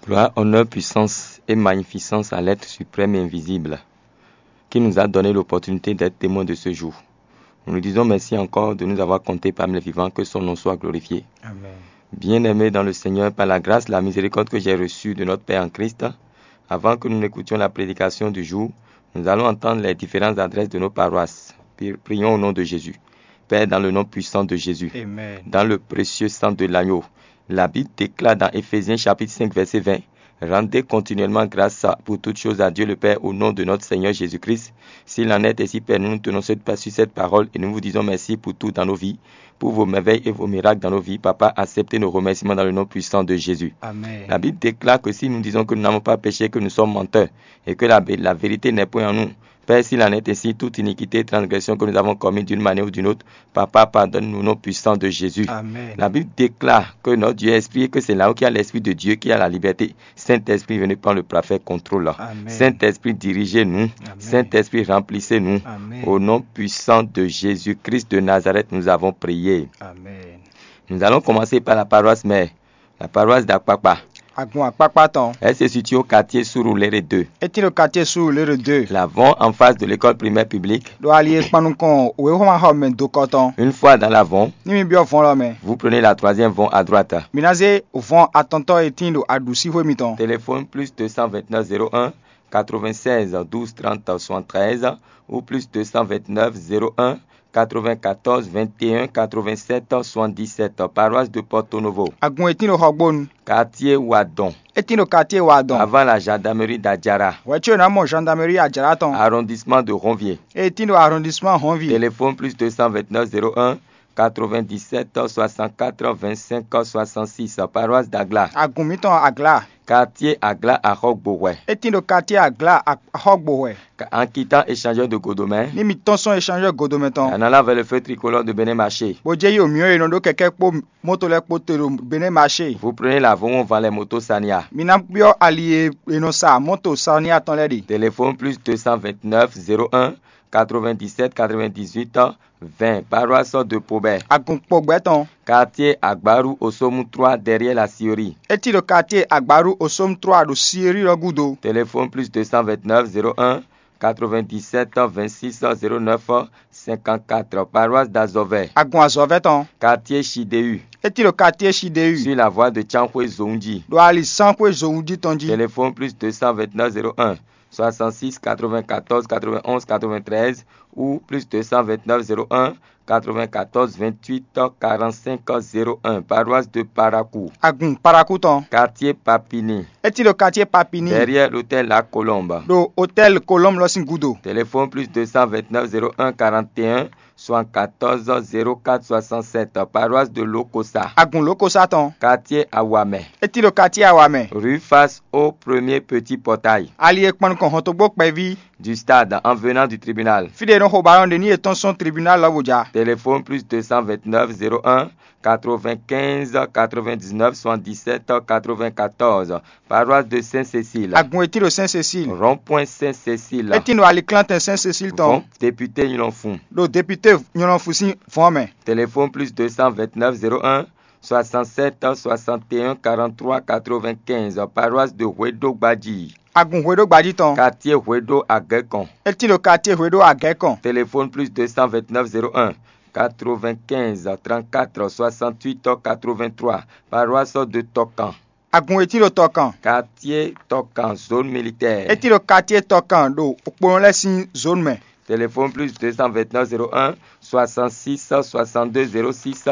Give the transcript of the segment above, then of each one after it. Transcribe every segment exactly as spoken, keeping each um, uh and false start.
Gloire, honneur, puissance et magnificence à l'être suprême et invisible qui nous a donné l'opportunité d'être témoin de ce jour. Nous lui disons merci encore de nous avoir comptés parmi les vivants, que son nom soit glorifié. Amen. Bien-aimés dans le Seigneur, par la grâce, la miséricorde que j'ai reçue de notre Père en Christ, avant que nous n'écoutions la prédication du jour, nous allons entendre les différentes adresses de nos paroisses. Pri- Prions au nom de Jésus. Père, dans le nom puissant de Jésus, Amen. Dans le précieux sang de l'agneau, la Bible déclare dans Éphésiens chapitre cinq, verset vingt, rendez continuellement grâce à- pour toutes choses à Dieu le Père au nom de notre Seigneur Jésus-Christ. S'il en est ainsi, Père, nous nous tenons sur cette parole et nous vous disons merci pour tout dans nos vies, pour vos merveilles et vos miracles dans nos vies. Papa, acceptez nos remerciements dans le nom puissant de Jésus. Amen. La Bible déclare que si nous disons que nous n'avons pas péché, que nous sommes menteurs et que la, la vérité n'est point en nous. Père, s'il en est ainsi, toute iniquité et transgression que nous avons commise d'une manière ou d'une autre, Papa, pardonne-nous au nom puissant de Jésus. Amen. La Bible déclare que notre Dieu est esprit et que c'est là où il y a l'esprit de Dieu, qui a la liberté. Saint-Esprit, venez prendre le parfait contrôle. Amen. Saint-Esprit, dirigez-nous. Amen. Saint-Esprit, remplissez-nous. Amen. Au nom puissant de Jésus-Christ de Nazareth, nous avons prié. Amen. Nous allons commencer par la paroisse mère, la paroisse d'Akpakpa. Agun Akpakpa tɔn. Elle se situe au quartier Surulere deux. Etin ɖo quartier Surulere deux. La Von, en face de l'école primaire publique. Ɖo ali e kpan nukɔn wěxɔmaxɔmɛ dokɔ tɔn. Une fois dans la Von, Ní mi byɔ́ vɔn lɔ mɛ. Vous prenez la troisième Von à droite. Mi ná zé vɔn atɔntɔ́ e tíin ɖo aɖǔsíxwé mitɔn. Téléphone plus deux cent vingt-neuf zéro un quatre-vingt-seize douze trente soixante-treize ou plus deux cent vingt-neuf zéro un quatre-vingt-quatorze vingt et un quatre-vingt-sept soixante-dix-sept, paroisse de Porto Novo. Agun e tíin ɖo Xɔgbónu. Quartier Wadon. E tíin ɖo quartier Wadon. Avant la gendarmerie d'Adjara. Hwɛ̌ có è nǎ mɔ gendarmerie Adjara tɔn. Arrondissement de Ronvier. E tíin ɖo arrondissement Honvi. Téléphone plus deux cent vingt-neuf zéro un quatre-vingt-dix-sept soixante-quatre vingt-cinq soixante-six, paroisse d'Agla. Agun mǐtɔn Agla. Quartier Agla Axɔgbohwɛ. E tíin ɖo quartier Agla Axɔgbohwɛ. En quittant échangeur de Godomɛ. Ní mi tɔ́n sɔn échangeur Godomɛ tɔn. En allant vers le feu tricolore de Bénin Marché. Bó jɛ yi omiɔ e nɔ ɖó kɛkɛ kpó moto lɛ́ɛ kpó te ɖo Bénin Marché. Vous prenez la Von van les motos Sania. Mi ná byɔ́ ali e è nɔ sa mɔto Sania tɔn lɛ́ɛ ɖe. Téléphone plus deux cent vingt-neuf zéro un quatre-vingt-dix-sept quatre-vingt-dix-huit vingt, paroisse de Pobɛ. Agun Pobɛ tɔn. Quartier Agbaru Osomu trois derrière la Siri. E tíin ɖo quartier Agbaru Osomu trois ɖo Siri lɔ gúdo. Téléphone plus deux cent vingt-neuf zéro un quatre-vingt-dix-sept vingt-six zéro neuf cinquante-quatre, paroisse d'Azɔvɛ. Agun Azɔvɛ tɔn. Quartier Chideu. E tíin ɖo quartier Chideu. Sur la voie de Tsanxwé Zonji. Ɖo ali Sanxwé Zonji tɔn jí. Téléphone plus deux cent vingt-neuf zéro un soixante-six quatre-vingt-quatorze quatre-vingt-onze quatre-vingt-treize ou plus deux cent vingt-neuf zéro un quatre-vingt-quatorze vingt-huit quarante-cinq zéro un, paroisse de Parakou. Agun Parakou tɔn. Quartier Papini. E tíin ɖo quartier Papini. Derrière l'hôtel La Colombe. Ɖo hôtel Colombe lɔ sín gúdo. Téléphone plus deux cent vingt-neuf zéro un quarante et un soixante-quatorze zéro quatre soixante-sept, paroisse de Lokosa. Agun Lokosa tɔn. Quartier Awamɛ. E tíin ɖo quartier Awamɛ. Rue face au premier petit portail. Ali e kpan nukɔn hɔntogbó kpɛví. Du stade en venant du tribunal. Fí ɖé e nɔ xo balɔn ɖe ní è tɔ́n sɔ́n tribunal lɔ bó ja. Téléphone plus deux cent vingt-neuf zéro un quatre-vingt-quinze quatre-vingt-dix-neuf soixante-dix-sept quatre-vingt-quatorze, paroisse de Saint-Cécile. Agun e tíin ɖo Saint-Cécile. Rond-point Saint-Cécile. E tíin ɖo aliklantɛn Saint-Cécile tɔn. Vɔn député Nyɔnɔnfun. Ɖo député Nyɔnɔnfun sín vɔn mɛ. Téléphone plus deux cent vingt-neuf zéro un soixante-sept soixante et un quarante-trois quatre-vingt-quinze, paroisse de Hweɖogbaji. Agun Hweɖogbaji tɔn. Quartier Hweɖo Agɛkɔn. E tíin ɖo quartier Hweɖo Agɛkɔn. Téléphone plus deux cent vingt-neuf zéro un quatre-vingt-quinze trente-quatre soixante-huit quatre-vingt-trois, paroisse de Tɔkan. Agun e tíin ɖo Tɔkan. Quartier Tɔkan, zone militaire. E tíin ɖo quartier Tɔkan ɖo kponɔ lɛ́ɛ sín zone mɛ. Téléphone plus deux cent vingt-neuf zéro un soixante-six soixante-deux zéro six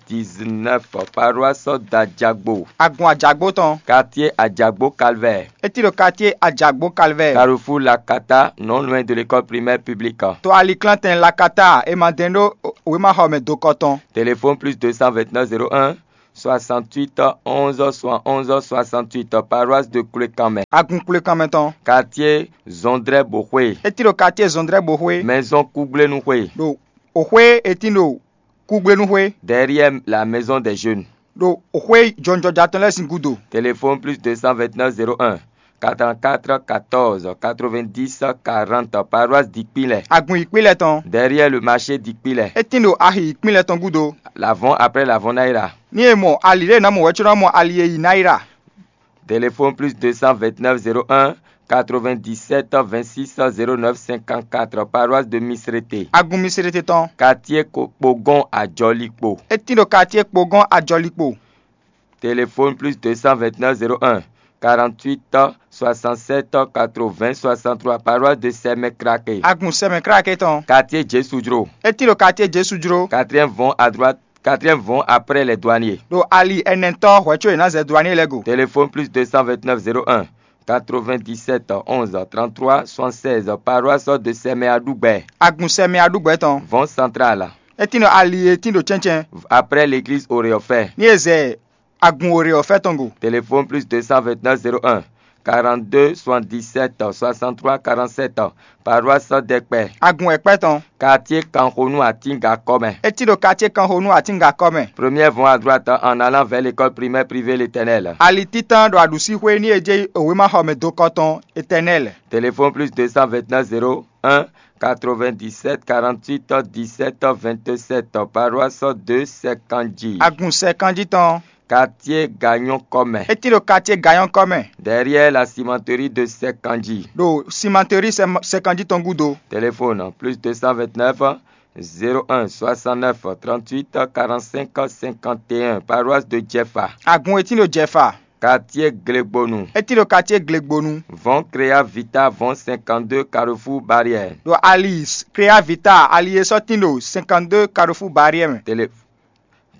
dix-neuf, paroisse d'Adjagbo. Agun Ajagbo tɔn. Quartier Adjagbo Calvaire. E tíin ɖo quartier Ajagbo Calvaire. Carrefour Lakata, non loin de l'école primaire publique. To aliklantɛn Lakata e ma dɛn ɖó wěmaxɔmɛ dokɔ tɔn. Téléphone plus deux cent vingt-neuf zéro un soixante-huit onze soixante-onze soixante-huit, paroisse de Koulékanmɛ. Agun Koulékanmɛ tɔn. Quartier Zɔndrɛ Boxwe. E tíin ɖo quartier Zɔndrɛ Boxwe. Maison Kugblenu Xwe. Ɖo oxwé e tíin ɖo Kugblenu Xwe. Derrière la maison des jeunes. Ɖo oxwé jɔnjɔja tɔn lɛ́ɛ sín gúdo. Téléphone plus deux cent vingt-neuf zéro un quatre-vingt-quatre quatorze quatre-vingt-dix quarante, paroisse Dikpilɛ. Agun Yikpilɛ tɔn. Derrière le marché Dikpilɛ. E tíin ɖo axi Yikpilɛ tɔn gúdo. L'avant après l'avant Naira. Ní e mɔ ali ɖé ná mɔ wɛ̌ có ná mɔ ali e yi Naira. Téléphone plus deux cent vingt-neuf zéro un quatre-vingt-dix-sept vingt-six zéro neuf cinquante-quatre, paroisse de Misrété. Agun Misrété tɔn. Quartier Ko-, Kpogɔn Ajɔlikpo. Étín ɖo quartier Kpogɔn Ajɔlikpo. Téléphone plus deux cent vingt-neuf zéro un quarante-huit soixante-sept quatre-vingts soixante-trois, paroisse de Sɛmɛ Kraké. Agun Sɛmɛ Kraké tɔn. Quartier Jésù Jró. Étín ɖo quartier Jésù Jró. Quatrième vont à droite, quatrième vont après les douaniers. Ɖo ali ɛnɛtɔ́ hwɛ̌ có è nǎ zɛ douanier lɛ́ɛ go. Téléphone plus deux cent vingt-neuf zéro un quatre-vingt-dix-sept onze trente-trois soixante-seize, paroisse de Sɛmɛ Aɖúgbɛ. Agun Sɛmɛ Aɖúgbɛ tɔn. Vɔn central. Étín ɖo ali e tín ɖo cɛ́ncɛ́n. Après l'église Oréofɛ. Ní è zɛ agun Oréofɛ tɔn go. Téléphone plus deux cent vingt-neuf zéro un quarante-deux soixante-dix-sept soixante-trois quarante-sept, paroisse Dɛkpɛ. Agun Ɛkpɛ tɔn. Quartier Kanxonu Atinga kɔ mɛ. Étín ɖo quartier Kanxonu Atinga kɔ mɛ. Première vont à droite en allant vers l'école primaire privée L'Éternel. Ali títán ɖo aɖǔsíxwé ní è jɛ wěmaxɔmɛ dokɔ tɔn Éternel. Téléphone plus deux cent vingt-neuf zéro un quatre-vingt-dix-sept quarante-huit dix-sept vingt-sept, paroisse de Sɛkanji. Agun Sɛkanji tɔn. Quartier Gagnon kɔ mɛ. Étín ɖo quartier Gagnon kɔ mɛ. Derrière la cimenterie de Sɛkanji. Ɖo cimenterie Sɛ-, Sɛkanji tɔn gúdo. Téléphone plus deux cent vingt-neuf zéro un soixante-neuf trente-huit quarante-cinq cinquante et un, paroisse de Jɛfa. Agun e tín ɖo Jɛfa. Quartier Glegbonu. É tín ɖo quartier Glegbonu. Vɔn Créa Vita, vɔn cinquante-deux Carrefour Barrière. Ɖo ali Créa Vita, ali e sɔ́ tín ɖo cinquante-deux Carrefour Barrière mɛ. Télé-,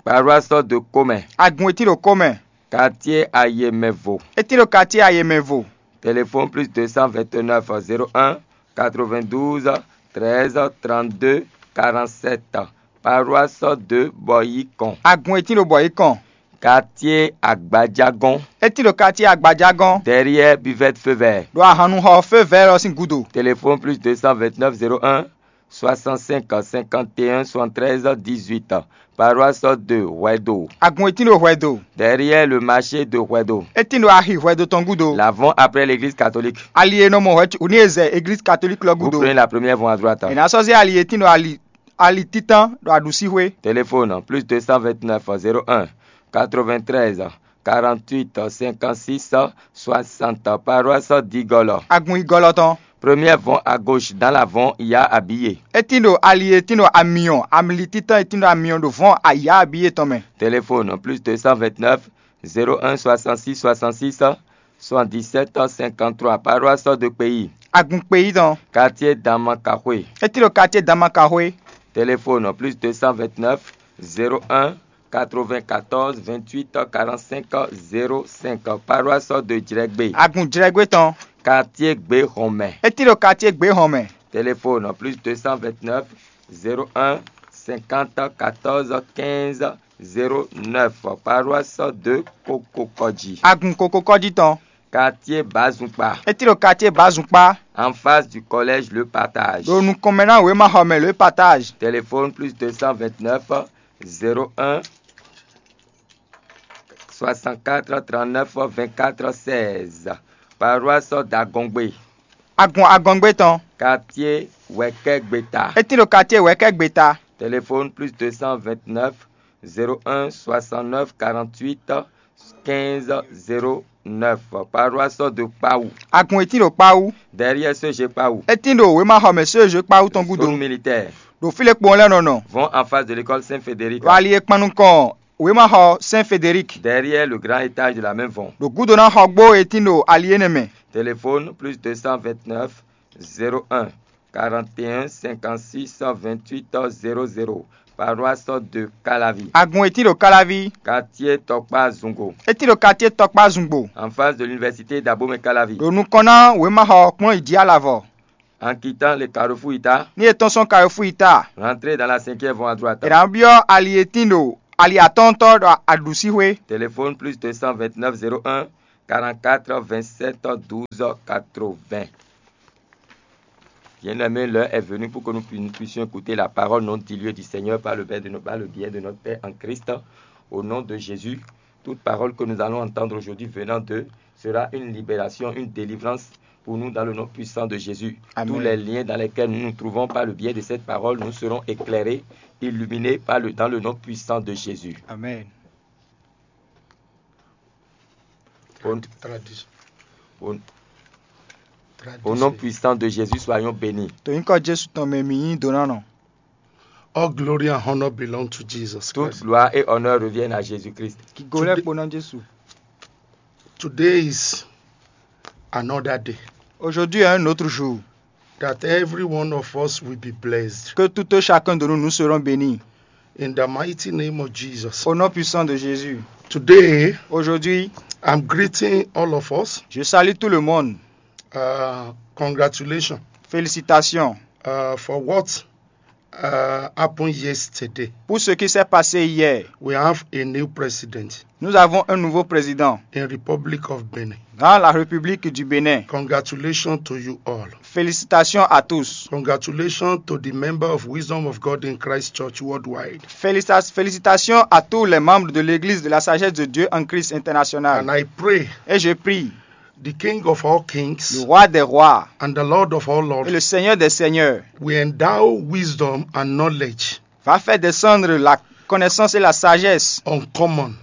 paroisse de Komɛ. Agun e tín ɖo Komɛ. Quartier Ayemɛvo. É tín ɖo quartier Ayemɛvo. Téléphone plus deux cent vingt-neuf zéro un quatre-vingt-douze treize trente-deux quarante-sept. Paroisse de Bɔyikɔn. Agun e tín ɖo Bɔyikɔn. Quartier Agbajagɔn. É tín ɖo quartier Agbajagɔn. Derrière buvette feu vert. Ɖo ahannuxɔ feu vert ɔ́ sín gúdo. Téléphone plus deux cent vingt-neuf zéro un soixante-cinq cinquante et un soixante-treize dix-huit. Paroisse de Hwɛdo. Agun e tín ɖo Hwɛdo. Derrière le marché de Hwɛdo. É tín ɖo axi Hwɛdo tɔn gúdo. L'avant après l'église catholique. Ali e nɔ mɔ hwɛ ní e zɛ église catholique lɔ Vous gúdo. Prenez la première voie à droite. È nǎ sɔ́ zé ali e tín ɖo ali, ali títán ɖo aɖǔsíxwé. Téléphone plus deux cent vingt-neuf zéro un quatre-vingt-treize quarante-huit cinquante-six soixante, paroisse d'Igolo. Agun Igolo tɔn. Première vont à gauche dans la vont il y a habillé. É tín ɖo ali e tín ɖo amyɔ, amli títán e tín ɖo amyɔ ɖo vɔn ayá abiyé tɔn mɛ. Téléphone plus deux cent vingt-neuf zéro un soixante-six soixante-six soixante-dix-sept cinquante-trois, paroisse de Kpeyi. Agun Kpeyi tɔn. Quartier Damakaxwe. É tín ɖo quartier Damakaxwe. Téléphone plus deux cent vingt-neuf zéro un quatre-vingt-quatorze vingt-huit quarante-cinq zéro cinq, paroisse de Djrɛgbé. Agun Djrɛgbé tɔn. Quartier Gbéhɔnmɛ. É tín ɖo quartier Gbéhɔnmɛ. Téléphone plus deux cent vingt-neuf zéro un cinquante quatorze quinze zéro neuf, paroisse de Kokokɔji. Agun Kokokɔji tɔn. Quartier Bazukpa. É tín ɖo quartier Bazukpa. En face du collège Le Partage. Ɖo nukɔn mɛ ná wěmaxɔmɛ Le Partage. Téléphone plus deux cent vingt-neuf zéro un soixante-quatre trente-neuf vingt-quatre seize. Paroisse d'Agɔngbe. Agun Agɔngbe tɔn. Quartier Wɛkɛgbeta. É tín ɖo quartier Wɛkɛgbeta. Téléphone plus deux cent vingt-neuf zéro un soixante-neuf quarante-huit quinze zéro neuf. Paroisse de Kpawu. Agun e tín ɖo Kpawu. Derrière C G Kpawu. É tín ɖo wěmaxɔmɛ C G Kpawu tɔn gúdo. Zone militaire. Ɖo fí lɛ́ɛ kpɔ́n lɛ́ɛ nɔ nɔ. Vont en face de l'école Saint-Frédéric. Ɖo ali e kpan nukɔn wěmaxɔ Saint Frédéric. Derrière le grand étage de la même vont. Ɖo gúdo ná xɔ gbó e tín ɖo ali énɛ́ mɛ. Téléphone plus deux cent vingt-neuf zéro un quarante et un cinquante-six vingt-huit zéro zéro. Paroisse de Calavi. Agun e tín ɖo Calavi. Quartier Tɔkpa Zungo. É tín ɖo quartier Tɔkpa Zungbo. En face de l'université d'Abomey Calavi. Ɖo nukɔn ná wěmaxɔ kplɔ́n yi jí alavɔ. En quittant le carrefour Ita. Ní è tɔ́n sɔ́n Carrefour Ita. Rentrez dans la cinquième voie à droite. È nǎ byɔ́ ali e tín ɖo ali atɔ́ɔ́ntɔ́ ɖo aɖǔsíxwé. Téléphone plus deux cent vingt-neuf zéro un quarante-quatre vingt-sept douze quatre-vingts. Bien-aimés, l'heure est venue pour que nous pu-, nous puissions écouter la parole non diluée du Seigneur par le biais de no-, par le biais de notre Père en Christ. Au nom de Jésus, toute parole que nous allons entendre aujourd'hui venant d'eux sera une libération, une délivrance pour nous dans le nom puissant de Jésus. Amen. Tous les liens dans lesquels nous nous trouvons par le biais de cette parole, nous serons éclairés, illuminés par le, dans le nom puissant de Jésus. Amen. Au, au- au nom puissant de Jésus, soyons bénis. To nyǐkɔ Jesu tɔn mɛ mi nyí donánɔ. All glory and honor belong to Jesus Christ. Toute gloire et honneur reviennent à Jésus-Christ. Gigo lɛ́ kpo ná Jesu. Today is another day. Aujourd'hui est un autre jour. That every one of us will be blessed. Que tout et chacun de nous, nous serons bénis. In the mighty name of Jesus. Au nom puissant de Jésus. Today, aujourd'hui, I'm greeting all of us. Je salue tout le monde. Uh, congratulations. Félicitations. Uh, for what uh, happened yesterday. Pour ce qui s'est passé hier. We have a new president. Nous avons un nouveau président. In Republic of Benin. Dans la République du Bénin. Congratulations to you all. Félicitations à tous. Congratulations to the member of Wisdom of God in Christ Church worldwide. Félicita- félicitations à tous les membres de l'Église de la Sagesse de Dieu en Christ international. And I pray. Et je prie. The King of all kings. Le roi des rois. And the Lord of all lords. Et le Seigneur des seigneurs. We endow wisdom and knowledge. Va faire descendre la connaissance et la sagesse. Uncommon.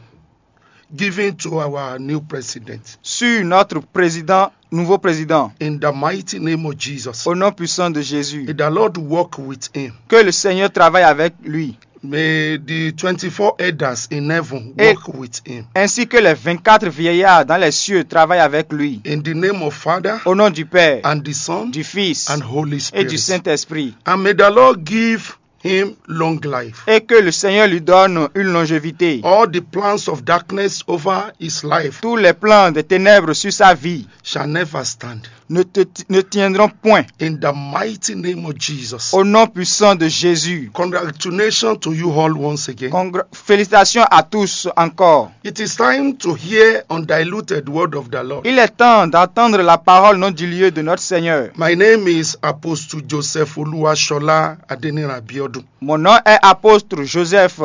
Given to our new president. Sur notre président, nouveau président. In the mighty name of Jesus. Au nom puissant de Jésus. May the Lord walk with him. Que le Seigneur travaille avec lui. May the twenty-four elders in heaven walk with him. Ainsi que les vingt-quatre vieillards dans les cieux travaillent avec lui. In the name of Father. Au nom du Père, and the Son, du Fils, and Holy Spirit, et du Saint-Esprit. And may the Lord give him long life. Et que le Seigneur lui donne une longévité. All the plans of darkness over his life. Tous les plans des ténèbres sur sa vie. Shall never stand. Ne, te- ne tiendront point. In the mighty name of Jesus. Au nom puissant de Jésus. Congratulations to you all once again. Congra- félicitations à tous encore. It is time to hear undiluted word of the Lord. Il est temps d'entendre la parole non diluée de notre Seigneur. My name is Apostle Joseph Oluwashola Adeniran Abiodun. Mon nom est apôtre Joseph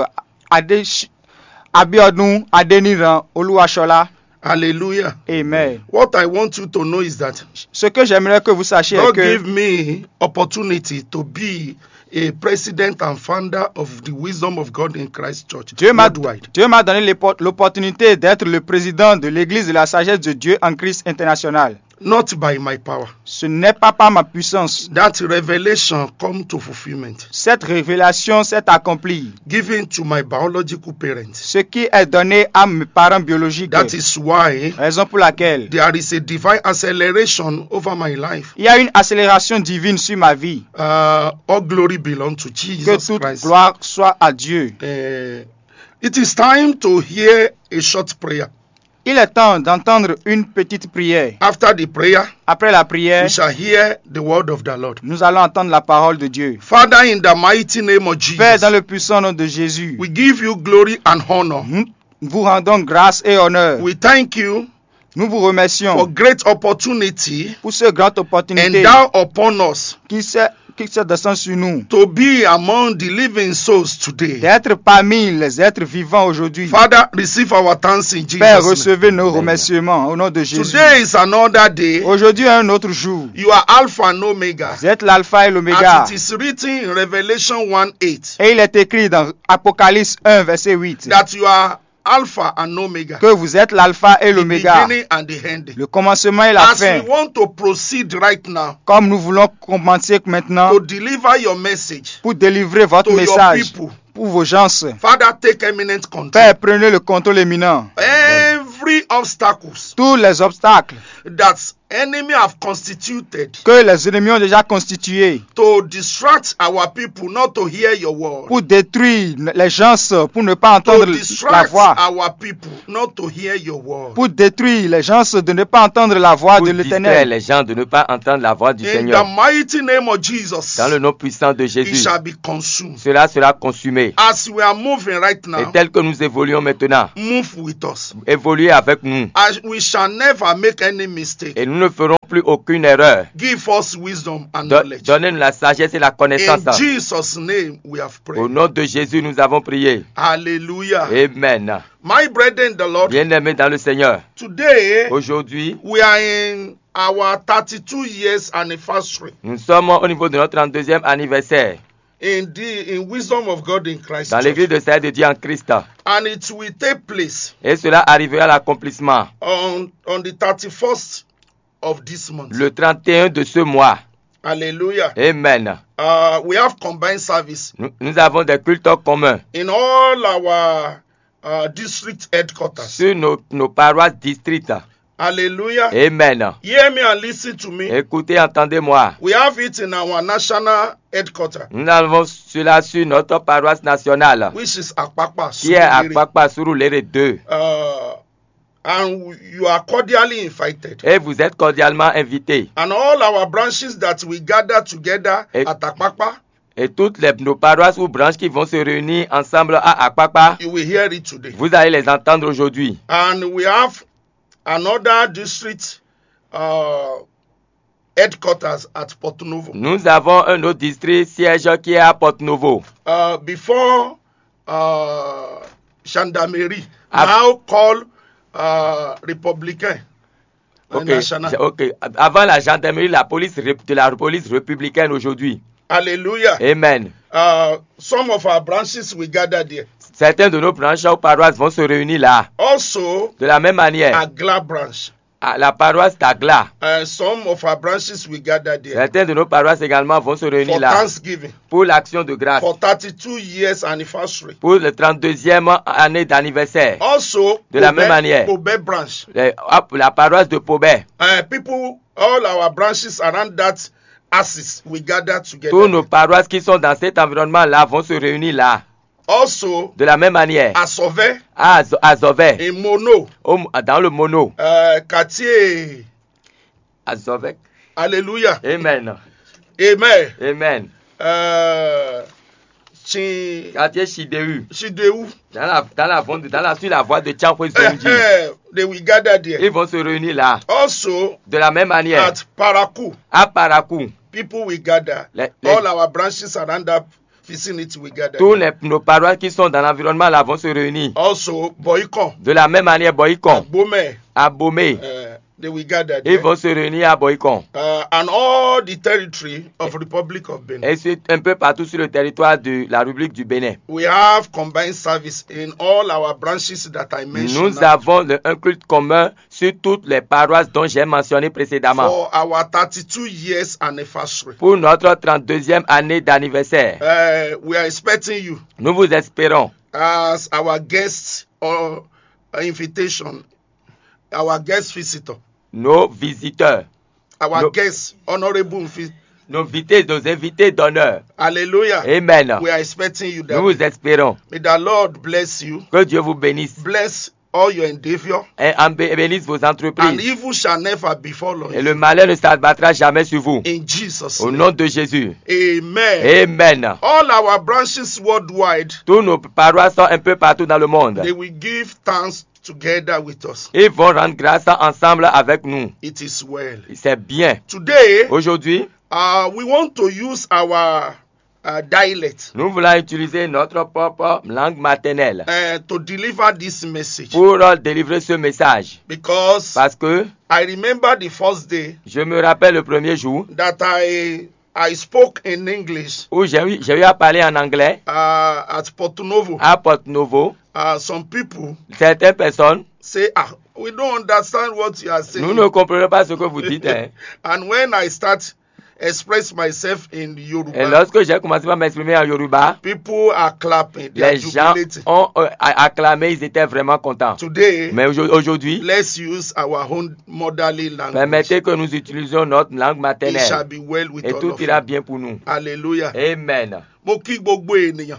Ade- Abiodun Adeniran Oluwashola. Hallelujah. Amen. What I want you to know is that ce que j'aimerais que vous sachiez est que give me opportunity to be a president and founder of the Wisdom of God in Christ Church. Dieu m'a Dieu m'a donné l'opportunité d'être le président de l'église de la sagesse de Dieu en Christ international. Not by my power. Ce n'est pas par ma puissance. That revelation come to fulfillment. Cette révélation s'est accomplie. Given to my biological parents. Ce qui est donné à mes parents biologiques. That is why. Raison pour laquelle. There is a divine acceleration over my life. Il y a une accélération divine sur ma vie. Uh, all glory belong to Jesus Christ. Que toute gloire soit à Dieu. Uh, it is time to hear a short prayer. Il est temps d'entendre une petite prière. After the prayer, après la prière, We shall hear the word of the Lord. Nous Allons entendre la parole de Dieu. Father, in the mighty name of Jesus, Père, dans le puissant nom de Jésus, We give you glory and honor. Nous vous rendons grâce et honneur. We thank you. Nous vous remercions. For great opportunity. Pour ce grand opportunité. Endow upon us. Qui s'est qui se descend sur nous. To be among the living souls today. D'être parmi les êtres vivants aujourd'hui. Father, receive our thanks in Jesus' name. Père, recevez nos remerciements au nom de Jésus. Today is another day. Aujourd'hui est un autre jour. You are Alpha and Omega. Vous êtes l'alpha et l'oméga. As it is written in Revelation one eight. Et il est écrit dans Apocalypse un, verset huit. That you are Alpha and Omega. Que vous êtes l'alpha et l'oméga. The beginning and the end. Le commencement et la fin. As we want to proceed right now. Comme nous voulons commencer maintenant. To deliver your message. Pour délivrer votre message. To your people. Pour vos gens. Father, take eminent control. Père, prenez le contrôle éminent. Every obstacles. Tous les obstacles. That enemy have constituted. Que les ennemis ont déjà constitué. To distract our people not to hear your word. Pour détruire les gens, pour ne pas entendre la voix. To distract our people not to hear your word. Pour détruire les gens de ne pas entendre la voix de l'Éternel. Pour distraire les gens de ne pas entendre la voix du Seigneur. In the mighty name of Jesus. Dans le nom puissant de Jésus. It shall be consumed. Cela sera consumé. As we are moving right now. Et tel que nous évoluons maintenant. Move with us. Évoluez avec nous. As we shall never make any mistake. Et nous ne ferons plus aucune erreur. Give us wisdom and knowledge. Donne-nous la sagesse et la connaissance. In Jesus' name we have prayed. Au nom de Jésus, nous avons prié. Hallelujah. Amen. My brethren in the Lord, bien-aimés dans le Seigneur, today, aujourd'hui, we are in our thirty-two years anniversary. Nous sommes au niveau de notre trente-deuxième anniversaire. in the in wisdom of God in Christ dans Church. L'église de Saints de Dieu en Christ. And it will take place Et cela arrivera à l'accomplissement on, on the thirty-first of this month. Le trente et un de ce mois. Hallelujah. Amen. Uh, we have combined service Nous, nous avons des cultes communs in all our uh, district headquarters. Sur nos, nos paroisses districts. Hallelujah. Amen. Hear me and listen to me. Écoutez, entendez-moi. We have it in our national headquarters, Nous avons cela sur notre paroisse nationale, which is Apapa. Qui est à Surulere. Papa Surulere deux. Uh, and you are cordially invited. Et vous êtes cordialement invités. And all our branches that we gather together Et- at Apapa, Et toutes les, nos paroisses ou branches qui vont se réunir ensemble à Apapa, you will hear it today. Vous allez les entendre aujourd'hui. And we have another district uh, headquarters at Porto Novo. Nous avons un autre district siège qui est à Porto Novo. Uh, before uh, gendarmerie, Ah. Now called uh, Republican uh, Ok, National. Ok. Avant la gendarmerie, la police ré- de la police républicaine aujourd'hui. Hallelujah. Amen. Uh, some of our branches will gather there. Certains de nos branches ou paroisses vont se réunir là. Also, De la même manière, Agla branch. à la paroisse d'Agla, Uh, some of our branches will gather there certains de nos paroisses également vont se réunir for là Thanksgiving pour l'action de grâce, for thirty-two years anniversary. Pour le trente-deuxième année d'anniversaire. Also, De la Pobé- même manière. Pobé branch. Les- hop, la paroisse de Pobé. Uh, people, all our branches around that axis, we gather together. Tous nos paroisses qui sont dans cet environnement-là vont se réunir là. Also, De la même manière, Asove, à, Zo- à Zovec, in Mono, au- dans le Mono. uh, quartier. À Zovec. Hallelujah. Amen. Amen. Amen. Uh, Chin- Quartier Chidéhu, Chidéhu. dans la, dans la, vente- dans la, sur la voie de Tianpoué Zonji. Eh, eh, they will gather there. Ils vont se réunir là. Also, De la même manière, at Parakou, à Parakou, people will gather. Les- les- All our branches around that vicinity will gather. Tous les, nos paroisses qui sont dans l'environnement là vont se réunir. Also, Boycon, De la même manière, Boycon, Bomé, à Bomé, uh, they will gather ils there. Vont se réunir à Boycon. Uh, and all the territory of Republic of Benin. Et c'est un peu partout sur le territoire de la République du Bénin. We have combined service in all our branches that I mentioned. Nous avons le- un culte commun sur toutes les paroisses dont j'ai mentionné précédemment. For our thirty-two years anniversary. Pour notre trente-deuxième année d'anniversaire. Uh, we are expecting you Nous vous espérons as our guest or invitation, our guest visitor, nos visiteurs, our No. Guest honorable invi- nos invités, nos invités d'honneur. Hallelujah. Amen. We are expecting you. Nous vous That espérons. May the Lord bless you, Que Dieu vous bénisse. Bless all your endeavor, Et en bé- bénisse vos and entreprises. Evil shall never befall you. Et le malheur ne s'abattra jamais sur vous. In Jesus' Au name. Nom de Jésus. Amen. Amen. All our branches worldwide, Tous nos paroisses sont un peu partout dans le monde. They will give thanks together with us. Ils vont rendre grâce ensemble avec nous. It is well. C'est bien. Today, Aujourd'hui, uh, we want to use our uh, dialect Nous voulons utiliser notre propre langue maternelle uh, to deliver this message, pour délivrer ce message. Because Parce que I remember the first day Je me rappelle le premier jour that I I spoke in English Où j'ai eu, j'ai eu à parler en anglais uh, at Porto Novo. À Porto Novo. Uh, some people Certaines personnes, say, ah, we don't understand what you are saying. Nous ne comprenons pas ce que vous dites. Hein. And when I start express myself in Yoruba, Et lorsque j'ai commencé par m'exprimer en Yoruba, People are clapping, they are Les gens jubilating. Ont euh, a- acclamé, ils étaient vraiment contents. Today, Mais aujourd- aujourd'hui, Let's use our own motherly language. Permettez Que nous utilisions notre langue maternelle. It shall be well with Et all Tout of ira you. Bien pour nous. Hallelujah. Amen. Mo kí gbogbo ènìyàn.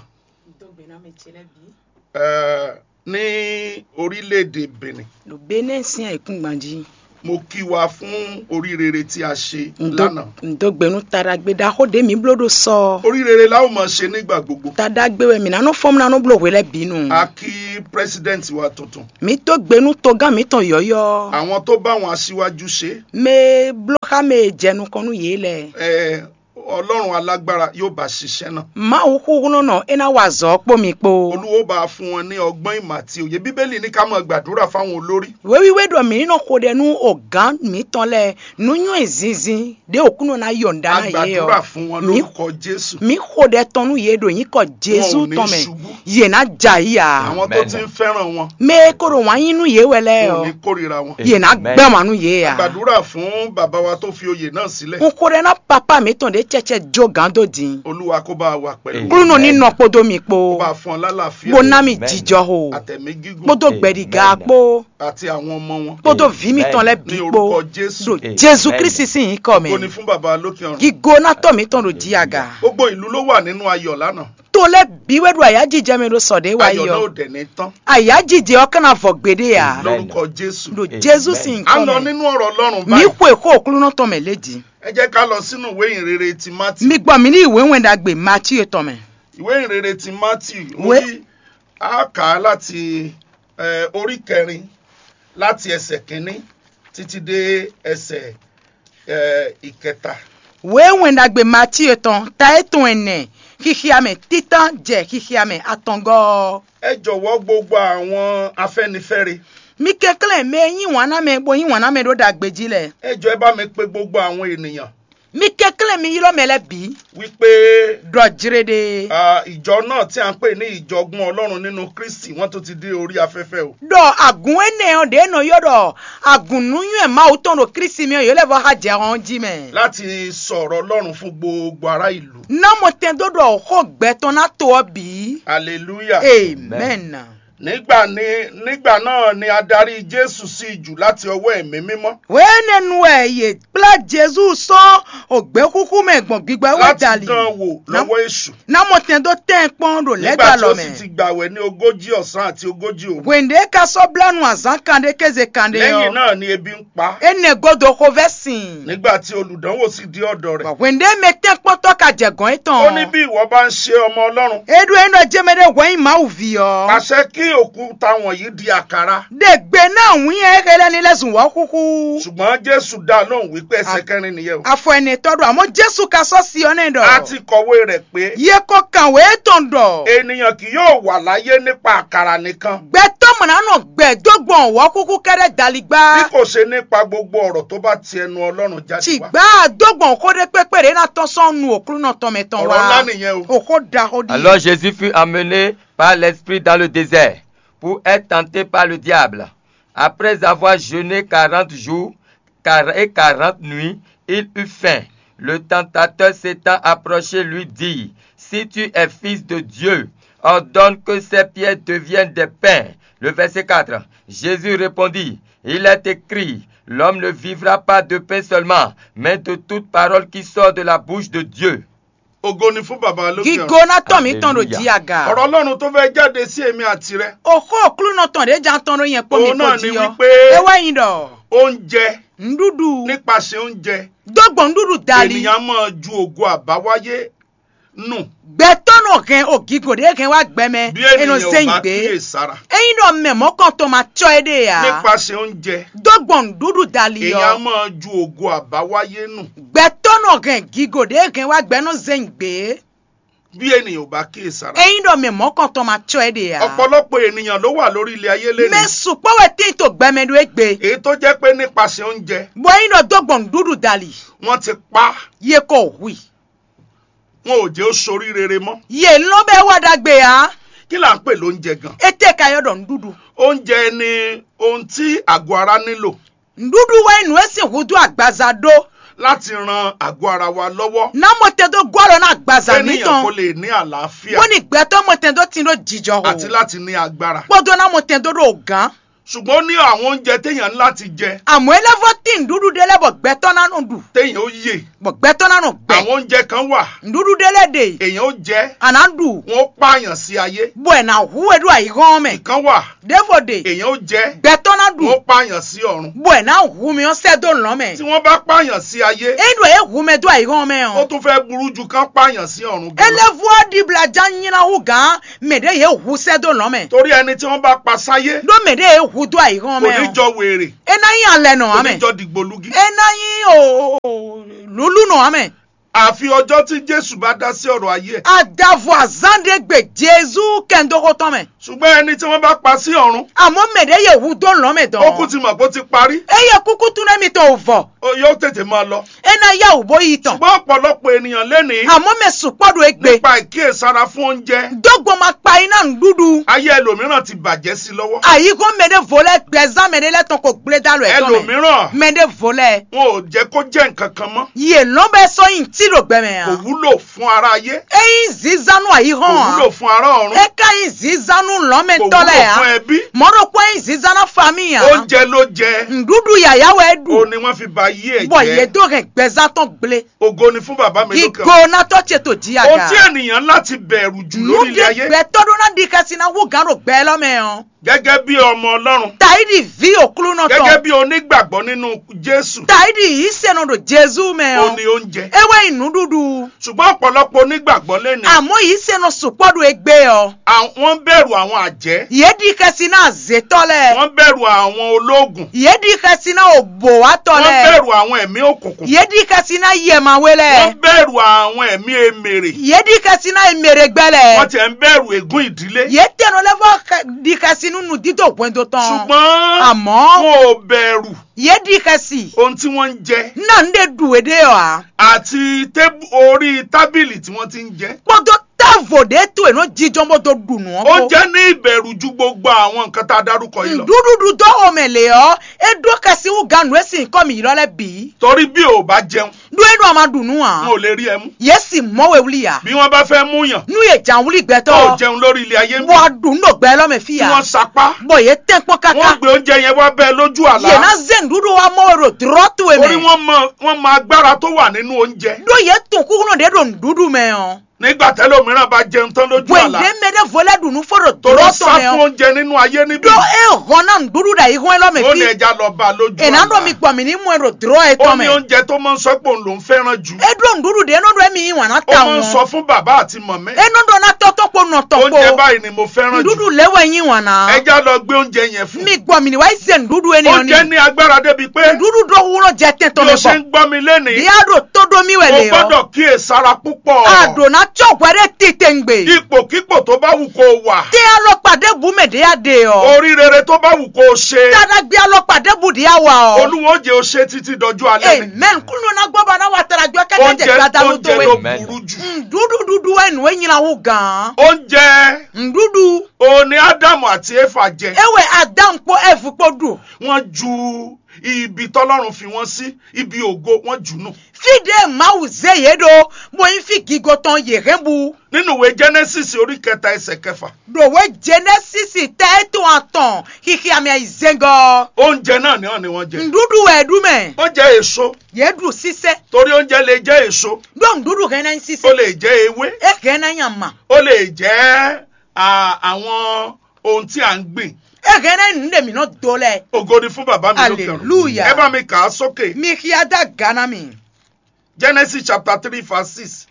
Uh, ní orílẹ̀-èdè Benin. Lò Benin sín ayǐkúngban jí. Mo kí wa fún orí rere tí a ṣe Ndo- lánàá. Ndo gbenu taɖagbe ɖaxó ɖé mi bló ɖo sɔ. Orí rere la ó máa ṣe nígbà gbogbo. Taɖagbe wɛ mi nanɔ fɔm nanɔ bló hwe lɛ binu. A kí president wa tuntun. Mi tó gbenu togán mi tɔn yɔyɔ. Àwọn tó bá wọn aṣíwájú ṣe. Me bló xa me jɛ nukɔn nú yé lɛ. Ẹ Ọlọ́run alágbára yóò bá ṣiṣẹ́ náà. Mawu xúxúnɔnɔ é ná wa azɔ̌ kpó mi kpó. Olúwo bá fún wọn ní ọgbọ́n ìmọ̀ àti òye. Bíbélì ní ká máa gbàdúrà fáwọn olórí. Wéwíwé ɖɔ mǐ ní nɔ xo ɖɛ nú ogǎn mǐtɔn lɛ́ɛ nú nyɔ́ zinzin ɖě òkúnɔ ná yɔ nǔɖá ná yě ɔ́. Gbàdúrà fún wọn lórúkọ Jésù. Mǐ xo ɖɛ tɔn nú yě ɖo nyǐkɔ Jezu tɔn mɛ. Yě ná jɛ ayǐ ǎ. Àwọn tó ti ń fẹ́ràn wọn. Mɛ e ko ɖo wǎn yí nú yě wɛ lɛ́ɛ ɔ́, yě ná gbɛ́ wǎn nú yě ǎ. Gbàdúrà fún bàbá wa tó fi oyè náà sílẹ̀. Un xo ɖɛ ná papá mǐtɔn ɖě cɛcɛ jó gǎn dó din. Olúwa kó bá wa pẹ̀lú. Klúnɔ ní nɔ kpódó mi kpó. Kó bá fún ọ lálàáfíà. Bó ná mi jijɔ ho. Àtẹ̀mí gígùn. Kpódó gbɛɖiga kpó. Àti àwọn ọmọ wọn. Kpódó vǐ mǐtɔn lɛ́ɛ bǐ kpó. Ní orúkọ Jésù. Ɖo Jezu Kristi sín nyǐkɔ mɛ. Kó ní fún baba lókè ọ̀run. Gigo ná tɔ́ mǐtɔn ɖo jí aga. Gbogbo ìlú ló wà nínú ayọ̀ lánàá. To lɛ́ɛ bǐ wɛ ɖo ayǎjijɛ mɛ ɖo sɔ ɖě wá yi ɔ́. Ayǎjijɛ ɔ́ ka ná vɔ gbeɖé ǎ. Lórúkọ Jésù. Ɖo Jezu sín nyǐkɔ mɛ. A lọ nínú ọ̀rọ̀ Ọlọ́run báyìí. Mǐ xwe xó Aklúnɔ tɔn mɛ lě jí. Ẹ jẹ́ ká lọ sínú ìwé ìhìnrere ti Mátì. Mi gbọ́ mi ní ìwé wɛn ɖagbe Matíu tɔn mɛ. Ìwé ìhìnrere ti Mátì, orí, a kà á láti, eh, orí kẹrin, láti ẹsẹ̀ kínní títí dé ẹsẹ̀, eh, ìkẹta. Wěwɛn ɖagbe Matíu tɔn ta e tɔn ɛnɛ, xixia mɛ títán jɛ xixia mɛ atɔngɔ́ ɔ́. Ẹ jọ̀wọ́ gbogbo àwọn afɛnifɛre. Mi kɛnklɛ́n mɛ e yí wǎn ná mɛ bó yí wǎn ná mɛ ɖó ɖagbe jí lɛ́ɛ. Ẹ jọ̀ọ́ ẹ bá mi pe gbogbo àwọn ènìyàn. Mi kɛnklɛ́n mi ylɔ́ mɛ lɛ́ɛ bǐ. Wípé, ɖɔ jlé ɖe. Ah, ìjọ náà tí a ń pè ní ìjọgbọ́n Ọlọ́run nínú Kristi, wọ́n tún ti dé orí afẹ́fẹ́ o. Ɖɔ agǔn énɛ́ ɔ́ ɖě nɔ ylɔ́ ɖɔ agǔn nǔnywɛ́ Mawu tɔn ɖo Kristi mɛ ɔ́, yě lɛ́ vɔ xá jɛ hɔn jí mɛ. Láti sọ̀rọ̀ Ọlọ́run fún gbogbo ará ìlú. Ná mɔ tɛn dó ɖɔ xó gbɛ tɔn ná to ɔ́ bǐ. Aleluya. Amen. Nígbà ní, nígbà náà ni a darí Jésù sí ijù láti ọwọ́ ẹ̀mí mímọ́. Wěnɛnu wɛ yě kplá Jezu sɔ́ ògběxúxú mɛ gbɔn gbígbá wɛ dali. Láti dán wò lọ́wọ́ èṣù. Ná mɔ tɛn dó tɛn kpɔ́n ɖo lɛ́gbá lɔ mɛ. Nígbà tí ó sì ti gbàwẹ̀ ní ogójì ọ̀sán àti ogójì òru. Hwěnɖé ka sɔ́ blá nu azǎn kanɖé kéze kanɖé ɔ́. Lẹ́yìn náà ni ebi ń pa. Énɛ́ gúdo xovɛ́ sin. Nígbà tí olùdánwò sì dé ọ̀dọ̀ rẹ̀. Bɔ hwěnɖé mɛ tɛ́nkpɔ́ntɔ́ ka jɛ gɔ̌n étɔn. Ó ní bí ìwọ bá ń ṣe ọmọ Ọlọ́run. E ɖo e nɔ jɛ mɛ ɖé hwɛ nyí Mawu ví ɔ́. Pàṣẹ kí òkúta wọ̀nyí di àkàrà. Ɖe gbe ná wǐn e xé lɛ́ɛ ní lɛ́ zun wɔ̌xúxú. Ṣùgbọ́n Jésù dá lóhùn wípé ẹsẹ̀ kẹrin nìyẹn o. Afɔ ɛnɛ tɔ́ ɖo àmọ́ Jésù ka sɔ́ si ɔ́ nɛ́ ɖɔ. A ti kọ̀wé rẹ̀ pé. Ye ko kàn wě tɔn ɖɔ. Ènìyàn kì yóò wà láyé nípa àkàrà nìkan. Gbɛtɔ́ mɔ̌ ná nɔ gbɛ dó gbɔn wɔ̌xúxú kɛ́ɖɛ́ dali gbá. Bí kò ṣe nípa gbogbo ọ̀rọ̀ tó bá ti ẹnu Ọlọ́run jáde wá. Tìgbà dó gbɔn xó ɖé kpékpé ɖě ná tɔ́n sɔ́ nu òklúnɔ tɔn mɛ tɔn wá. Ọ̀rọ̀ ńlá nìyẹn o. Òxó ɖaxó ɖi. Alors Jésus fut amené par l'Esprit dans le désert pour être tenté par le diable. Après avoir jeûné quarante jours car- et quarante nuits, il eut faim. Le tentateur s'étant approché lui dit, si tu es fils de Dieu, ordonne que ces pierres deviennent des pains. Le verset quatre. Jésus répondit, il est écrit, l'homme ne vivra pas de pain seulement, mais de toute parole qui sort de la bouche de Dieu. Ògo ni fún Baba lókè ọ̀run. Gígó ná tɔn mǐ tɔn ɖo jí aga. Ọ̀rọ̀ Ọlọ́run tó fẹ́ jáde sí èmi àti rẹ. Òxó òklúnɔ tɔn ɖě jan tɔn ɖó nyɛ kpó mi kpó jí ɔ́. Òun náà ni wípé. Ewé yin ɖɔ. Oúnjẹ. Ŋɖúɖu. Nípasẹ̀ oúnjẹ. Dó gbɔn ŋɖúɖu dali. Ènìyàn máa ju ògo àbáwáyé nù. Gbɛtɔ́ nɔ hɛn o gígó ɖě hɛn wá gbɛ mɛ. Bí ènìyàn ò bá kíyèsára. Ényí ɖɔ mɛ mɔ̌kɔntɔn ma cɔ é ɖe ǎ. Nípasẹ̀ oúnjẹ. Dó gbɔn ŋɖúɖu dali ɔ́. Èèyàn máa ju ògo àbáwáyé nù. Gbɛtɔ́ nɔ hɛn gígó ɖě hɛn wá gbɛ nɔ zɛ́n gbě. Bí ènìyàn ò bá kíyèsára. Ényí ɖɔ mɛ mɔ̌kɔntɔn ma cɔ é ɖe ǎ. Ọ̀pọ̀lọpọ̀ ènìyàn ló wà lórí ilẹ̀ ayé lé. Mɛ sukpɔ́ wɛ tín to gbɛmɛ ɖó égbé. Èyí tó jẹ́ pé nípasẹ̀ oúnjẹ. Bɔ ényí ɖɔ dó gbɔn ŋɖúɖu dali. Wọ́n ti pa. Ye ko hui. Wọn ò jẹ́ ó sorí rere mọ́. Ye lɔ́n bɛ wá ɖagbe ǎ. Kí là ń pè lóúnjẹ gan? Ete ka yɔ ɖɔ ŋɖúɖu. Oúnjẹ ni ohun tí àgọ́ ara nílò. Ŋɖúɖu wɛ nyí nǔ e sín húdú agbaza ɖó. Láti ran àgọ́ ara wa lọ́wọ́. Ná mɔtɛn dó gɔ́ alɔ ná agbaza mǐtɔn. Kéèyàn kó lè ní àlàáfíà. Bó ní gbɛtɔ́ mɔtɛn dó tin ɖó jijɔ ho. Àti láti ní agbára. Kpódó ná mɔtɛn dó ɖo gǎn. Ṣùgbọ́n ó ní àwọn oúnjẹ téèyàn ní láti jẹ. Àmọ́ é lɛ́ vɔ́ tín nǔɖuɖu ɖé lɛ́ɛ bɔ gbɛtɔ́ ná nɔ ɖu. Téèyàn ó yè. Bɔ gbɛtɔ́ ná nɔ gbɛ. Àwọn oúnjẹ kan wà. Nǔɖuɖu ɖé lɛ́ɛ ɖe. Èèyàn ó jẹ. À ná ɖu. Wọ́n ó pààyàn sí ayé. Bɔ è nà hu we ɖo ayǐhɔ́n mɛ. Ìkan wà. Ɖěvo ɖe. Èèyàn ó jẹ. Gbɛtɔ́ ná ɖu. Wọ́n ó pààyàn sí ọ̀run. Bɔ è nǎ hu mi ɔ́ sɛ́ dó lɔ̌n mɛ. Tí wọ́n bá pààyàn sí ayé. Ényí ɖɔ é hu mɛ dó ayǐhɔ́n mɛ ɔ́. Ó tún fẹ́ burú ju kán pààyàn sí ọ̀run gan. É lɛ́ vú ɔ́ ɖibla já nyí ná hú gǎn mɛ ɖě yě hu sɛ́ dó lɔ̌n mɛ. Torí ẹni tí wọ́n bá pa sáyé. Ɖó mɛ ɖě yě hu dó ayǐhɔ́n mɛ ɔ́. Kò ní jọ wèrè. É ná nyí alɛ nɔ ǎ mɛ. Kò ní jọ dìgbòlugi. É ná nyí o- o- o- lǔlú nɔ ǎ mɛ. Àfi ọjọ́ tí Jésù bá dá sí ọ̀rọ̀ ayé ẹ̀. Adavo azán ɖé gbe Jezu kɛndóxó tɔn mɛ. Ṣùgbọ́n ẹni tí wọ́n bá pa sí ọ̀run, Àmọ́ mɛ ɖě yě hu dó lɔ̌n mɛ dɔn. Ó kú ti mọ̀ pé ó ti parí. Eye kúkú tún nɛ mitɔn wò vɔ. Ó yóò tètè máa lọ. E na yá wò bó yi tɔn. Ṣùgbọ́n ọ̀pọ̀lọpọ̀ ènìyàn lénìí, Àmọ́ mɛ sukpɔ ɖo egbe. Nípa ìkíyèsára fún oúnjẹ. Dógbó ma kpa yi ná nǔɖuɖu. Ayé ẹlòmíràn ti bàjẹ́ sí lọ́wọ́. Àyíkó mɛ ɖé vo lɛ gbɛzán mɛ ɖé lɛ tɔn ko gblé dá lɔ ɛ tɔn mɛ. Ẹlòmíràn, Mɛ ɖé vo lɛ. Wọn ò jẹ́ kó jẹ́ nǹkan kan mọ́. Yě lɔn bɛ sɔ yin tí ɖo gbɛ mɛ Kò a. Wúlò fún ara ayé. Eyin zizanu ayi Kò hɔn wúlò a. Fún ara ọ̀run. E ka yin zizanu Kò lɔn mɛ tɔ wúlò lɛ fún a. Ẹbí. Mɔ ɖo kpɔ yin zizana fami a. Oúnjẹ ló jẹ. Nɖuɖu yaya wɛ e Ó ɖu. Ní wọ́n fi ba yí ẹ̀ Bɔ yé jẹ́. Do hɛn gbɛzan tɔn gblé. Ògo ni fún bàbá mi lókè ọ̀run. Gigo na tɔ ce to jí Ohun tí aga. Ènìyàn láti bẹ̀rù jù Nú lórí ilé de ayé. Gbɛtɔ ɖó na ɖi xɛsi na hu gan ɖo gbɛ lɔ mɛ ɔ. Gẹ́gẹ́ bí ọmọ Ọlọ́run. Taidi vi òklúnɔ Gẹ́gẹ́ tɔn. Bí onígbàgbọ́ nínú Jésù. Taidi yìí sɛnɔ ɖo Jezu mɛ Ó ɔ. Ní oúnjẹ. Ewe yin nuɖuɖu. Ṣùgbọ́n ọ̀pọ̀lọpọ̀ onígbàgbọ́ lé ní. Àmọ́ yìí sɛnɔ sukpɔ ɖo egbe ɔ. Àwọn bẹ̀rù àwọn àjẹ́. Yé ɖi xɛsi na azétɔ lɛ. Wọ́n bẹ̀rù àwọn ológun. Yé ɖi xɛsi na òbòwátɔ Wọ́n lɛ. Bẹ̀rù àwọn ẹ̀mí òkùnkùn. Yé ɖi xɛsi na yɛmawe lɛ. Wọ́n bẹ̀rù àwọn ẹ̀mí emèrè. Yé ɖi xɛsi na emeregbɛ lɛ. Wọ́n tiẹ̀ ń bẹ̀rù ègún ìdílé. Yé tɛnɔ lɛ vɔ xɛ- ɖi xɛsi nu nudídó hwɛndo tɔn. Ṣùgbọ́n Àmọ́ wọn ò bẹ̀rù yé ɖi xɛsi. Ohun tí wọ́n ń jẹ. Na n ɖe ɖu e ɖe ɔ a. Àti tébù orí tábìlì tí wọ́n ti ń jẹ. Kpɔdɔ távo ɖe to e nɔ jijɔn bó do ɖu nù ɔ Ó kpó. Jẹ́ ní ìbẹ̀rù ju gbogbo àwọn nǹkan tá a dárúkọ yìí lọ. Ɖuɖuɖu dó xɔmɛ lě ɔ, é ɖó xɛsi wú ganu e sin kɔ mi ylɔ lɛ bǐ. Torí bí o bá jẹun, Ɖó é ɖo a ma ɖu nú a. Wọn ò lè rí ẹ mú. Yé si mɔ we wlí a. Bí wọ́n bá fẹ́ mú yàn, Nú yé jan wlí gbɛtɔ. Ó jẹun lórí ilé ayé ń Bɔ bí. A ɖu nú ɖo gbɛ lɔ mɛ fí Tí a. Wọ́n sapá. Bɔ yé tɛn kpɔn Wọ́n kaka. Gbé oúnjẹ yẹn wá bẹ́ẹ̀ lójú àlá. Yé na zé nǔɖuɖu wa mɔ we ɖo drɔ́ to e Orí mɛ. Wọn mọ wọn mọ agbára tó wà nínú oúnjẹ. Ɖó yé tun kúkúnɔ ɖě ɖo nǔɖuɖu mɛ ɔ. Nígbà tẹ́lòmíràn bá jẹun tán lójú Bwe àlá. Ɖě mɛ ɖé vo lɛ ɖu nú fó ɖo Tó ló drɔ́ sá tɔn mɛ fún ɔ. Oúnjẹ nínú ayé níbí. Ɖó é hɔn ná nǔɖuɖu ɖo ayihɔn élɔ́ mɛ Ó ní fí. Ẹja lọ bá a lójú È ná àlá. Ɖɔ mi gbɔ mì ní mú ẹ ɖo drɔ́ ẹ Ó tɔn ní mɛ. Oúnjẹ tó máa ń sọ pé òun lòún fẹ́ràn jù. É ɖó nǔɖuɖu ɖě é nɔ ɖɔ émí yí wǎn ná Ó ta máa ń wọn. Sọ fún bàbá àti mọ̀mẹ́. É nɔ ɖɔ ná tɔ́ tɔn kpó nɔ tɔn Oúnjẹ kpó. Báyìí ni mo fẹ́ràn jù. Nǔɖuɖu lě wɛ yí wǎn ná. Ẹja lọ gbé oúnjẹ yẹn fún. Mi gbɔ mì ní wá yí se nǔɖuɖu énìyàn Oúnjẹ ni. Ní agbára débi pé Nǔɖuɖu ɖó wúrɔ jẹ tɛn tɔn Bí mɛ o ṣe bɔ. Ń gbọ́ mi lénìí, Ɖě a ɖo tó ɖó mì wɛ Ó lě ɔ. Gbọ́dọ̀ kíyèsára púpọ̀. A ɖǒ ná cɔ́ hwɛ ɖé titewungbe. Ipòkípò tó bá wù kó o wà. Tɛ alɔkpa ɖěbǔ mɛ ɖě a ɖe ɔ. Orí rere tó bá wù kó o ṣe. Taɖagbe alɔkpa ɖěbǔ ɖě a wa ɔ. Olúwo ó jẹ́ o ṣe títí dọjú alẹ́ ni. Amen. Kúnlẹ̀ náà gbọ́ bá náà wà tara gbé kẹ́kẹ́ jẹ Oúnjẹ gbadanu tó oúnjẹ wé. Ló burú jù. Nɖuɖu ɖuɖu wɛ nǔ e nyina wú gǎn. Oúnjẹ Nɖuɖu. O ní Ádámù àti Éfà jẹ. Ewɛ Adam kpó Ɛvu kpó ɖu. Wọ́n ju ibi tọ́lọ́run fi wọ́n sí, ibi ògo, wọ́n jù nù. Fí ɖě Mawu zé yě ɖó, bó nyí fí gigo tɔn yě hɛn bu. Nínú ìwé Genesis orí kẹta ẹsẹ̀ kẹfà. Ɖòwe Genesis tɛ etɔn atɔn xixi amɛ yi zɛngɔ. Oúnjẹ náà ni wọ́n ní wọ́n jẹ. Nɖuɖu wɛ ɖu mɛ. Wọ́n jẹ èso. Yě ɖu sísɛ. Torí oúnjẹ lè jẹ́ èso. Ɖó nɖuɖu hɛn ná nyí sísɛ. Ó lè jẹ́ ewé. E hɛn ná nyí ama. Ó lè jẹ́ à, àwọn ohun tí à ń gbìn. E hɛn ná nyí nǔ ɖe mǐ nɔ do lɛ. Ògo ni fún bàbá mi lókè ọ̀run. Hallelujah. Ẹ bá mi kà á sókè. Mi xia dá gana mi. Genesis chapter three verse six.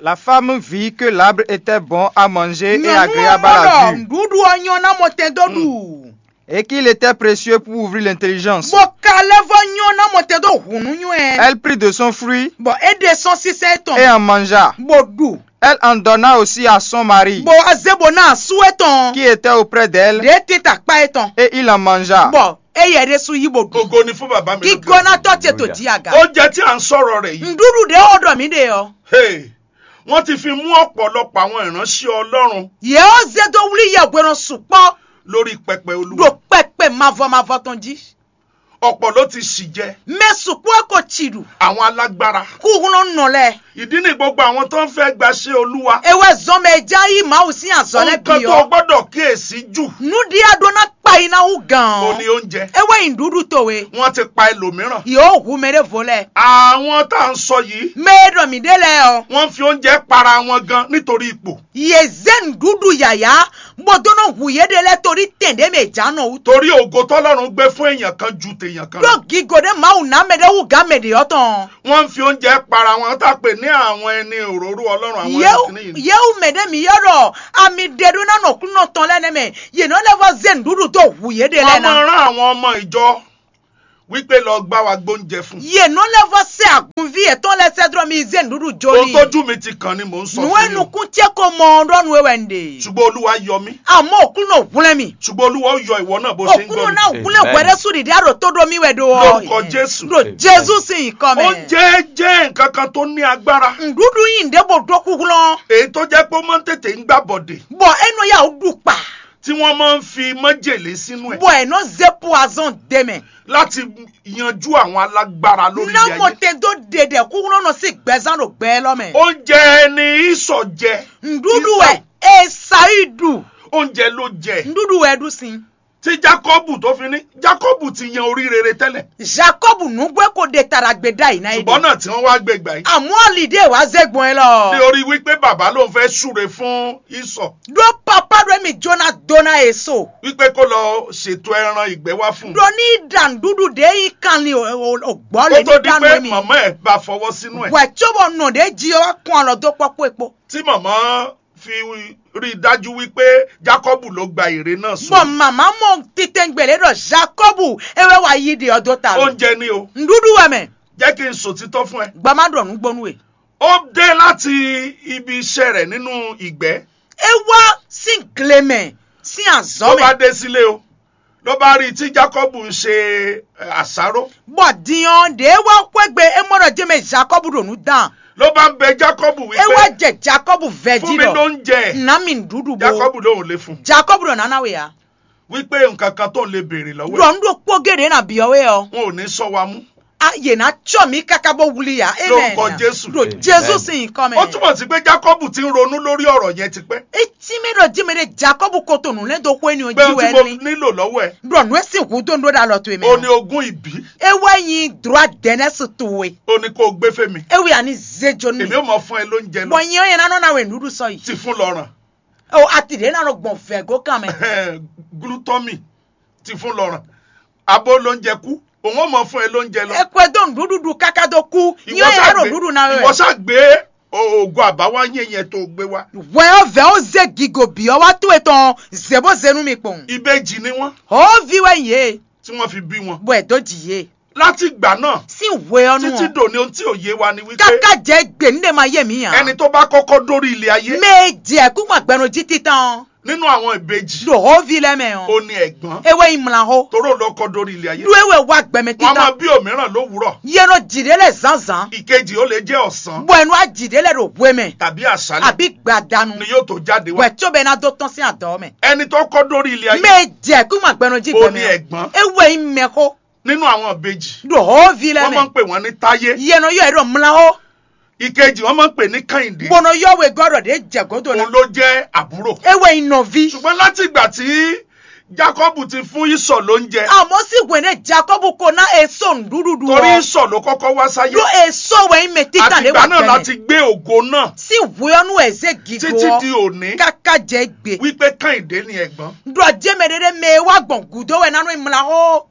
La femme vit que l'arbre était bon à manger et agréable à la vue, Nyɔnu ɔ́ ɖɔ nǔɖuɖu ɔ́ nyɔ́ ná mɔ tɛn dó ɖu. Et qu'il était précieux pour ouvrir l'intelligence. Bɔ kalɛ́vɔ nyɔ́ ná mɔ tɛn dó hǔnúnywɛ. Elle prit de son fruit. Bɔ é ɖe sɔ́ sísɛ tɔn. Et en mangea. Bó ɖu. Elle en donna aussi à son mari. Bó wá zé bó ná asú étɔn. Qui était auprès d'elle. Ɖě tita kpá étɔn. Et il en mangea. Bɔ éyɛ ɖésú yí bó ɖu. Ògo ni fún bàbá mi lókè. Kíkónátɔ ce tó jí aga. Oúnjẹ tí à ń sọ̀rọ̀ rẹ̀ yìí. Nɖúɖu ɖě ó ɖɔ mǐ ɖe ɔ́. Hey, wọ́n ti fi mú ọ̀pọ̀lọpọ̀ àwọn ìránṣẹ́ Ọlọ́run. Yě ó zé dó wlí yɛhwenɔ sukpɔ́. Lórí pẹpẹ Olúwa. Ɖo kpɛkpɛ mavɔ mavɔ tɔn jí. Ọ̀pọ̀ ló ti ṣì jẹ. Mɛ sukpɔ́ ko tsi ɖu. Àwọn alágbára. Kúhúnlɔ́nɔ lɛ. Ìdí ni gbogbo àwọn tó ń fẹ́ gbaṣẹ́ Olúwa. Ewé zɔn mɛ já yí Mawu sín azɔ lɛ Ohun kan bì tó o ɔ́. Gbọ́dọ̀ kíyèsí jù. Nǔɖíá ɖó ná kpa yi ná wú gǎn Ó ɔ́. Ní oúnjẹ. Ewé nyi nǔɖuɖu towe. Wọ́n ti pa ẹlòmíràn. Yǒ hu mɛ ɖé vo lɛ. Àwọn tá à ń sọ yìí. Mɛ e ɖɔ mǐ ɖe lɛ́ɛ ɔ́. Wọ́n fi oúnjẹ para wọn gan nítorí ipò. Yě zé nǔɖuɖu yǎyá, bó dó nɔ hu yě ɖe lɛ́ɛ torí tɛn ɖě mɛ è jǎ nɔ wú. Torí ògo tɔ́lọ́run gbé fún èèyàn kan ju tèèyàn kan lọ. Ɖó gigo ɖé Mawu ná mɛ ɖé wú gǎn mɛ ɖě ɔ́ tɔn. Wọ́n ń fi oúnjẹ para wọn tá pè ní àwọn ẹni òróró Ọlọ́run àwọn Yéwu ẹni kìíní yìí. Yéwu mɛ ɖé mǐ ylɔ́ ɖɔ ami ɖe ɖó ná nɔ kúnɔ tɔn lɛ́ɛ nɛ́ mɛ, yě nɔ lɛ́ vɔ́ zé nǔɖuɖu dó hu yě ɖe Wọ́n lɛ́ɛ ná. Máa rán àwọn ọmọ ìjọ Wípé lɔ gbá wa gbóúnjẹ fún. Yě nɔ lɛ́ vɔ sɛ́ agunví yětɔn lɛ́ɛ sɛ́ dó mì zé nǔɖuɖu jó Ohun n'i. Tójú mi ti kàn ni mò ń sọ Nǔ e fún yín o. Nukún ce ko mɔ ɔ́ ɖɔ nú we wɛ un ɖe. Ṣùgbọ́n Olúwa yọ mí. Àmọ́ Òkúnnɔ hwlɛ́n mì. Ṣùgbọ́n Olúwa ó yọ ìwọ náà bó ṣe ń Òkúnnɔ gbọ́ mi. Náà hwlɛ́n Amen. Hwɛɖésú ɖiɖi àrò tó ɖó mì wɛ ɖó ɔ. Lórúkọ Jésù. Ɖo Amen. Jésù sín nyǐkɔ mɛ. Oúnjẹ jẹ́ nǹkan kan tó ní agbára. Nǔɖuɖu nyí nǔɖé bó ɖó kúhlɔ́n. Èyí tó jẹ́ pé ó máa ń tètè ń gbá bɔ̀dè. Bɔ é nɔ yá wǔ ɖu kpa. Tí wọ́n máa ń fi májèlé sínú ẹ̀. Bɔ è nɔ zé poison dé mɛ. Láti yanjú àwọn alágbára lórí ilé Ná mo ayé. Te dó ɖeɖɛ kúhlɔ́nɔ sín gbɛzán ɖo gbɛ élɔ́ mɛ. Oúnjẹ ni Ísọ̀ jẹ. Nǔɖuɖu Ísọ̀. Wɛ Esaú ɖu. Oúnjẹ ló jẹ. Nǔɖuɖu wɛ ɖu sin. Tí Jákọ́bù tó fi ní, Jákọ́bù ti yan orí rere tẹ́lẹ̀. Jakɔbu nǔgbó ko ɖe ta ɖagbe ɖ'ayǐ ná é Ṣùgbọ́n ɖe. Náà tí wọ́n wá gbé gbà yìí. Àmọ́ alìdé wá zé gbɔn é lɔ. Ní orí wípé bàbá lòun fẹ́ súre fún Ísọ̀. Ɖó papá ɖo émí jóná dó ná Esau. Wípé kó lọ ṣètò ẹran ìgbẹ́ wá fún un. Ɖo ní ɖa nǔɖuɖu ɖě yi kanlin ògbɔ́ Ó lě tó ní di dánú pé émí. Màmá ẹ̀ bá fọwọ́ sínú ẹ̀. Hwɛ̌ cóbɔ nɔ ɖě jí ɔ́ wá kún alɔ dó kpɔ́kpó é kpó. Tí màmá fi rí i dájú wípé Jákọ́bù ló gba ère náà sún. Bɔ màmá mɔ titɛngbèlé ɖɔ Jakɔbu é wɛ wá yí ɖe ɔ́ dó ta lɔ. Oúnjẹ ni o. Nǔɖuɖu wɛ mɛ. Jẹ́ kí n sòtítọ́ fún ẹ. Gba má ɖɔ nǔgbó nú we. Ó dé láti ibi iṣẹ́ rẹ̀ nínú ìgbẹ́. É wá sín gle mɛ sín azɔ̌ Ló mɛ. Bá dé sílé o. Ló bá rí i tí Jákọ́bù ń ṣe eh, àsáró. Bɔ din ɔ́ ɖě wá xwégbe é mɔ ɖɔ jɛmɛ Jakɔbu ɖo nǔ dan. Ló bá ń bɛ Jákɔ́bù É wá wípé, jɛ Jakɔbu vɛ fún jí mi ɖɔ lóúnjẹ. Nǎ mi nǔɖuɖu bó. Jákɔ́bù lóhùn lé fún un. Jakɔbu ɖɔ nǎ ná we ǎ. Wípé nǹkan kan tó ń lè béèrè lọ́wọ́ ẹ̀. Ɖɔ nú ɖokpó géɖé ná byɔ́ we ɔ́. Wọn ò ní sɔ wa mú. A yě ná cɔ mí káká bó wlí ya. Lórúkọ Jésù. Ɖo Jésù sín nyǐkɔ mɛ. Ó túmọ̀ sí pé Jákọ́bù ti ń ronú lórí ọ̀rọ̀ yẹn tipẹ́. Etí mɛ ɖɔ jí mɛ ɖe Jakɔbu ko to nǔ lɛ́ dó xwé ni ɔ́ Pé jí ohun wɛ tí mo ní. Nílò lọ́wọ́ ẹ̀. Ɖɔ nǔ e sín hǔ dó nú ɖó ɖo alɔ towe mɛ. Ó ní ogún ìbí. É wɛ nyí droit d'honneur towe. Ó ní kó o gbé fún mi. É wɛ a ní zé jó nú Èmi mi. Ó mọ fún ẹ lóúnjẹ Bɔ lọ. Nyɛ ɔ́ yɛ ná nɔ ná wɛ nǔɖuɖu sɔ yi. Ti fún lɔràn. O ati ɖě ná nɔ gbɔn vɛ̌ gó kan mɛ. Glútɔ́mì. Ti fún lɔràn. Abo lóúnjẹ kú. Òun ó mọ fún ẹ lóúnjẹ lọ. Ẹ kó ẹ dó nǔɖuɖu káká dó kú. Ìwọ Nyɛ ɔ́ ṣá yà ɖo gbé- nǔɖuɖu ná wɛ. Ìwọ ṣá gbé o- ògo àbáwá yẹn yẹn tó gbé wá. Wɛ ɔ́ vɛ̌ ó zé gigo bǐ ɔ́ wá tó etɔn zě bó zé nú mi kpɔn. Ìbejì ni wọ́n Hǒví wɛ nyí yě, tí wọ́n fi bí wọn. Bɔ ɛ dó jì yě. Láti ìgbà náà Sín hwe ɔ́ nú títí ɔ́. Dòní ohun tí ò yé wa ni wípé Káká jẹ́ gbè ní ɖe ma yé mi ǎ. Ẹni tó bá kọ́kọ́ dórí ilé ayé Mɛ e jɛ kú gbɔn gbɛnu jí títán ɔ́. Nínú àwọn ìbejì Ɖo hǒví lɛ́ mɛ ɔ́. Ó ní ẹ̀gbọ́n. É wɛ nyí mlahó. Toró ló kọ́ dórí ilé ayé. Ɖó é wɛ wá gbɛmɛ Wọ́n á máa títán. Bí òmíràn lówùúrọ̀. Yé nɔ jǐ ɖé lɛ zǎnzǎn. Ìkejì ó lè jẹ́ ọ̀sán. Bɔ ɛ nú á jǐ ɖé lɛ ɖo hwe mɛ. Tàbí àṣálẹ́ Àbí gbadanu. Ni yóò tó jáde wá. Wɛ có bɛ ná dó tɔ́n sín adɔ̌ mɛ. Ẹni tó kọ́ dórí ilé ayé Mɛ e jɛ kú gbɔn gbɛnu jí Ó gbɛmɛ ní ɔ́. Ẹ̀gbọ́n. É wɛ nyí mɛxó. Nínú àwọn ìbejì. Ɖo hǒví lɛ́ Wọ́n máa mɛ. Ń pè wọ́n ní Táyé. Yé nɔ yɔ ɛ ɖɔ mlahó. Ìkejì wọ́n máa ń pè ní Kẹ́hìndé. Bó nɔ yɔ wegɔ́ ɖɔ ɖě jɛ gǒdo Òun ná. Ló jẹ́ àbúrò. É wɛ nyí nɔví. Ṣùgbọ́n láti ìgbà tí Jákọ́bù ti fún Ísọ̀ lóúnjẹ. Àmọ́ sí hwɛ̌nɛ Jakɔbu ko ná Esau nǔɖuɖu Torí ɔ́. Ísọ̀ ló kọ́kọ́ wá sáyé. Ɖó Esau wɛ nyí mɛ títàn Àti lé ìgbà wà náà gbɛmɛ. Láti gbé ògo náà. Sí hwɛ ɔ́ nú ɛ zé gigo Títí ɔ́. Di òní. Káká jɛ gbe. Wípé Kẹ́hìndé ni ẹ̀gbọ́n. Ɖɔ jɛ mɛ ɖé ɖé mɛ e wá gbɔn gǔdo wɛ ná nú mla xó.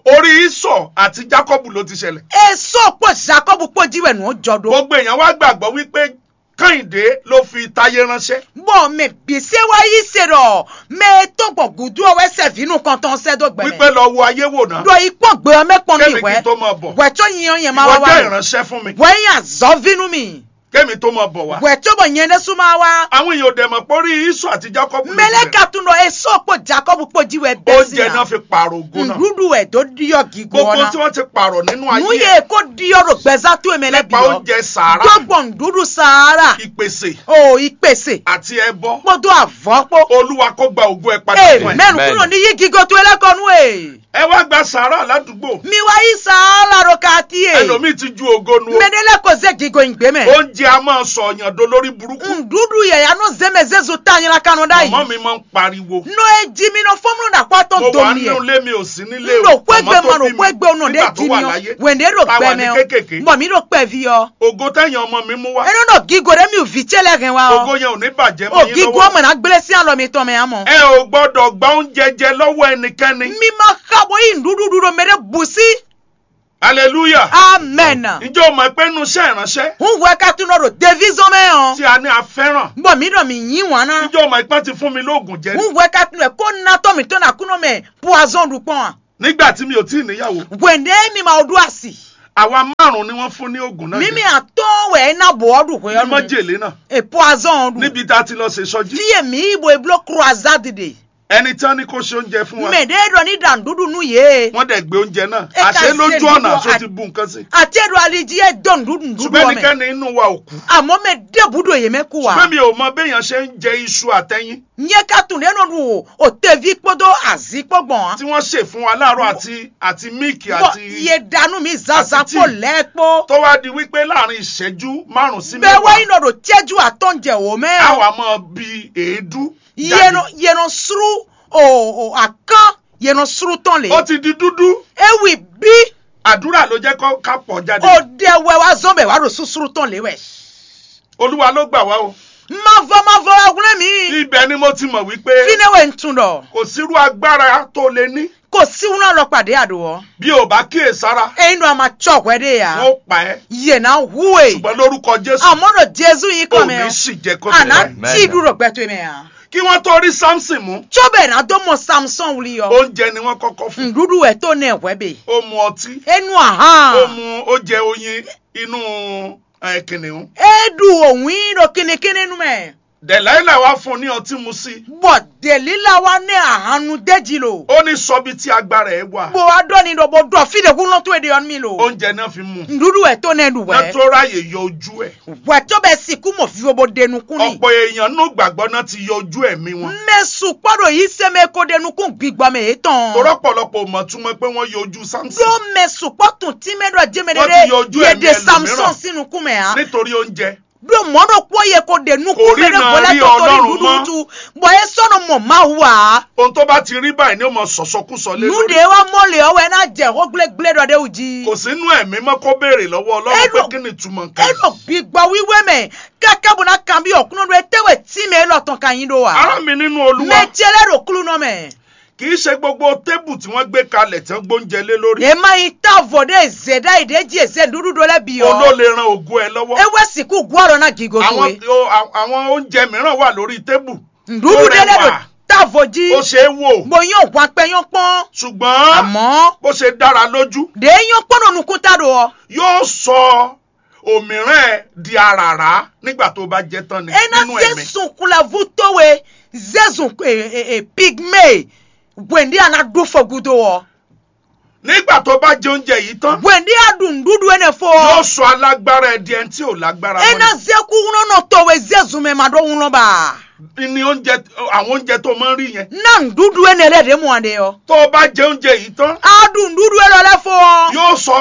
Orí Ísọ̀ àti Jákọ́bù ló ti ṣẹlẹ̀. Esau kpó Jakɔbu kpó jí wɛ nǔ ɔ́ jɔ ɖó. Gbogbo èèyàn wá gbàgbọ́ wípé Kẹ́hìndé ló fi Táyé ránṣẹ́. Bɔ mɛ bǐ se wá yí se ɖɔ mɛ e tɔn gbɔn gǔdo ɔ́ wɛ sɛ vǐ nukɔntɔn sɛ́ dó gbɛ mɛ. Wípé lɔ wo ayé wò ná. Ɖɔ yi kpɔ́n gbe ɔ́ mɛ kpɔn Kémi n'i hwɛ. Kí n tó máa bọ̀. Hwɛ có nyi ɔ́ nyɛ má Ìwọ wá jẹ́ wá. Ìránṣẹ́ fún mi. Hwɛ nyí azɔ̌ví nú mi. Kémi tó máa bọ̀ wá. Hwɛ có bɔ nyɛ ɖésú má wá. Àwọn èèyàn ò dẹ̀ mọ̀ pé orí Ísọ̀ àti Jákọ́bù ló ti Mɛlɛ bẹ̀rẹ̀. Ka tún ɖɔ Esau kpó Jakɔbu kpó jí wɛ bɛ́ Oúnjẹ sín náà ná. Fi pààrọ̀ ògo náà. Nǔɖuɖu wɛ dó ɖyɔ gǐgó Gbogbo ɔ́ ná. Tí wọ́n ti pààrọ̀ nínú Nú ayé yě ẹ̀. Kó ɖyɔ ɖo gbɛzán towe mɛ lɛ́ bǐ Nípa ɔ́. Oúnjẹ sàárà. Dó gbɔn nǔɖuɖu sàárà. Ìpèsè. O ìpèsè. Àti ẹbọ. Kpódó àvɔ̌ kpó. Olúwa kó gba ògo ẹ padà fún ẹ. Mɛnu kúrò ní yí gígó towe lɛ́ kɔ nú e. Ẹ wá gba sàárà ládùúgbò. Mi wá yí sàárà ɖo kati e. Ẹlòmíì ti ju ògo nu o. Mɛ ɖé lɛ́ ko zé gígó nyi gbě mɛ. Oúnjẹ a máa sọ ọ̀yàn do lórí burúkú. Nǔɖuɖu yɛ̌yá nɔ zé mɛ zézu ta nylá kanɔ ɖ'ayǐ. Màmá mi máa ń pariwo. Nɔ e jí mi nɔ fɔ́n mlɔ́ ɖo akpá tɔn Mo do wà mi nínú ɛ. Ilé mi ò sí nílé N o. Ɖo xwégbe Màmá tó mɔ ɖo bí mi xwégbe nɔ nígbà ɖé tó jí wà mi ɔ. Láyé. Wɛn ɖé ɖo Tá a wà gbɛ ní mɛ ɔ. Kékèké. Bɔ mi ɖo kpɛví ɔ. Ògo tẹ́yìn ọmọ mi mú wá. Eno ɖo gigo ɖe mi ò vǐ ce lɛ hɛn wa ɔ. Ògo yẹn ò ní bàjẹ́ mọ́ yín Ògigo lọ́wọ́. Ɔmɔ ná gblé sí alɔ mi tɔn mɛ amɔ. Ẹ ò gbọ́dọ̀ gba oúnjẹ jẹ lọ́wọ́ ẹnikẹ́ni. Mi ma xa bo yi nɖuɖuɖu ɖo mɛ ɖe bu sí. Hallelujah. Amen. Ǹjẹ́ o mọ̀ pé inú iṣẹ́ ìránṣẹ́ Hun hwɛ ka tun nɔ ɖo devizɔn mɛ ɔ. Tí a ní a fẹ́ràn? Bɔ mi ɖɔ mi nyi wan ná. Ǹjẹ́ o mọ̀ pé wọ́n ti fún mi lóògùn jẹ? Hun hwɛ ka tun nɔ ko natɔ mi tɔn na kunɔ mɛ poison ɖu kpɔn a. Nígbà tí mi ò tí ì níyàwó, Wende mi ma ɖu asi. Àwa márùn-ún ni wọ́n fún ní oògùn náà Mimi jẹ. Atɔn wɛ ena bɔ ɔdu hwe Ní ɔnu. Májèlé náà. E poison ɔdu. Níbi tá a ti lọ ṣe sọjí. Fie mi bo e blo croisade de. Ẹni tí wọ́n ní kó ṣe oúnjẹ fún wa. Mɛ de ɖɔ ni ɖa nuɖuɖu nu ye. Wọ́n dẹ̀ gbé oúnjẹ náà. E ka Àṣé lójú ṣe ọ̀nà nuɖuɖu aṣọ a- ti bu nǹkan sí. Ati ɖo ali ji e do nuɖuɖu nuɖuɖu Ṣùgbọ́n wɔ mɛ. Ẹnikẹ́ni nínú wa ò kú. Àmọ́ mɛ ɖebu ɖo ye mɛ kú wa. Ṣùgbọ́n mi ò mɔ béèyàn ṣe ń jẹ iṣu àtẹyin. Nye ka tunɖe nɔ ɖu o tevi kpódó azǐ kpó gbɔn á. Tí wọ́n ṣe fún wa láàárọ̀ àti àti míìkì Bɔ àti ye ɖanu mi zaza àti kpó tíì. Lɛ kpó. Tó wá di wípé láàrin ìṣẹ́jú márùn-ún sí Bɛ mẹ́wàá, wá yín nɔ ɖo cɛju atɔn jɛ wò mɛ. Á wà mọ́ bí èédú. Ye nɔ ye nɔ sru o o akán ye nɔ sru tɔn le. Ó ti di dúdú. Ewi bí. Àdúrà ló jẹ́ kó ká pọ̀ jáde. O ɖe wɛ wá zɔn bɛ wá ɖo susru tɔn le wɛ. Olúwa ló gbà wá o. Mavɔ mavɔ wá wlé mi. Ibẹ̀ ni mo ti mọ̀ wípé Fine wɛ n tun ɖɔ. Kò sírú agbára tó lè ní. Kò sí wúlò lọ pàdé àdó ọ. Bí o bá kíyè sára, Eyin ɖo a ma tsɔ hwɛ ɖe ya. Wọ́n pa ẹ́. Yè ná hu e. Ṣùgbọ́n lórúkọ Jésù, Àmọ́ ɖo Jesu yín o kɔ ò mɛ ní ɔ. Sì jẹ kó A ná tẹ̀lé. Tí dúró gbɛtɔ mɛ ya. Kí wọ́n tó rí Samson mú, Tso bɛ ná dó mɔ Samson wuli ɔ. Oúnjẹ ni wọ́n kọ́kọ́ fún. Nɖuɖu wɛ tó nɛ hwɛ be. Ó mu ọtí. Enu ahan. Ó mu ó jẹ oyin inú ẹ, kìnìún. E ɖu òwin ɖo kínníkínní nu mɛ. Dẹ̀láílà wá fún un ní ọtí mu sí. Bɔ Delila wá nɛ ahan nu déjì lo. Ó ní sọ bí tí agbára ẹ̀ wà. Bó wá ɖɔ ní ɖɔ bó ɖɔ fí ɖe kú lɔn tó e ɖe ɔ́ nú mi lo. Oúnjẹ náà fi mu. Nɖuɖu wɛ tó nɛ ɖu Ná wɛ. Tó ráyè yọ ojú ẹ̀. Wɛ tó bɛ sikú mɔ vivo bó ɖe nukún ni. Ọ̀pọ̀ èèyàn nú gbàgbọ́ náà ti yọ ojú ẹ̀mí wọn. Mɛ sukpɔ ɖo yi sɛmɛ ko ɖe nukún gbigbɔ mɛ yětɔn. Torọ́ pọ̀lọpọ̀ ò mọ̀ túmọ̀ pé wọ́n yọ ojú Samson. Ɖó mɛ sukpɔ tun tí mɛ ɖɔ jɛmɛ Wọ́n ti yọ ojú ɖe ɛ̀mí de Samson sín nukún mɛ á. Nítorí oúnjẹ. Ɖó mɔ̌ ɖokpó ye ko ɖe nukún mɛ ɖé vo lɛ́ tɔtɔ ní ɖuɖu wútu, bɔ é sɔ́ nɔ mɔ Mawu ǎ. Ohun tó bá ti rí báyìí ni ó mọ sɔ̀sɔkúsọ lé lórí. Nǔɖé wá mɔ lě ɔ́ wɛ ná jɛ xó gblégblé ɖɔ ɖé wú jí. Kò sí nú ẹ̀mí mọ́ kó béèrè lọ́wọ́ Ọlọ́run pé kí ni ìtumọ̀ nǹkan. É ɖo gbigbɔ wíwé mɛ káká bó ná kanbyɔ́ Aklúnɔ ɖɔ étɛ́ wɛ tínmɛ élɔ́ tɔn ka nyí ɖó ǎ. Ará mi nínú Olúwa. Mɛ ce lɛ́ ɖo Aklúnɔ mɛ. Kì í ṣe gbogbo tébù tí wọ́n gbé kalẹ̀ tí wọ́n gbóúnjẹ lé lórí. È má nyí távo ɖé zě ɖ'ayǐ ɖé jí è zě nǔɖuɖu lɛ́ bǐ ɔ́. Òun ló lè ran ògo ẹ lọ́wọ́. É wɛ sixú gú ọ̀rọ̀ ná gǐgó Àwọn towe. o- a- àwọn oúnjẹ mìíràn wà lórí tébù. Nǔɖuɖu ɖé lɛ́ ɖo távo jí. Ó ṣe é wò. Bó nyɔ́ hwan kpɛ nyɔ́ kpɔ́n. Ṣùgbọ́n Àmọ́ bó ṣe dára lójú, ɖě nyɔ́ kpɔ́n ɖo nukúnta ɖo ɔ́. Yóò sọ òmíràn ẹ di àràrá nígbà tó bá jẹ tán ni É ná nínú zé ẹ̀mí. Sunkulɛvu towe zé zun e, e, e, pigme hwɛ̌ndí a ná ɖu fɔ gúdo ɔ́. Nígbà tó bá jẹ oúnjẹ yìí tán, Hwɛ̌ndí a ɖu nǔɖuɖu énɛ́ fó yóò ɔ́. Sọ alágbára ẹ di ẹni tí ò lágbára É mọ́ ná ni. Zé kúnlɔ́nɔ towe zé zun mɛ ma ɖó wúnlɔ́n ba. Ní oúnjẹ, àwọn oúnjẹ tó máa ń rí yẹn. Ná nǔɖuɖu énɛ́ lɛ́ɛ ɖě mɔ a ɖe ɔ́. Tó o bá jẹ oúnjẹ yìí tán, A ɖu nǔɖuɖu élɔ́ lɛ́ɛ fó ɔ́. Yóò sọ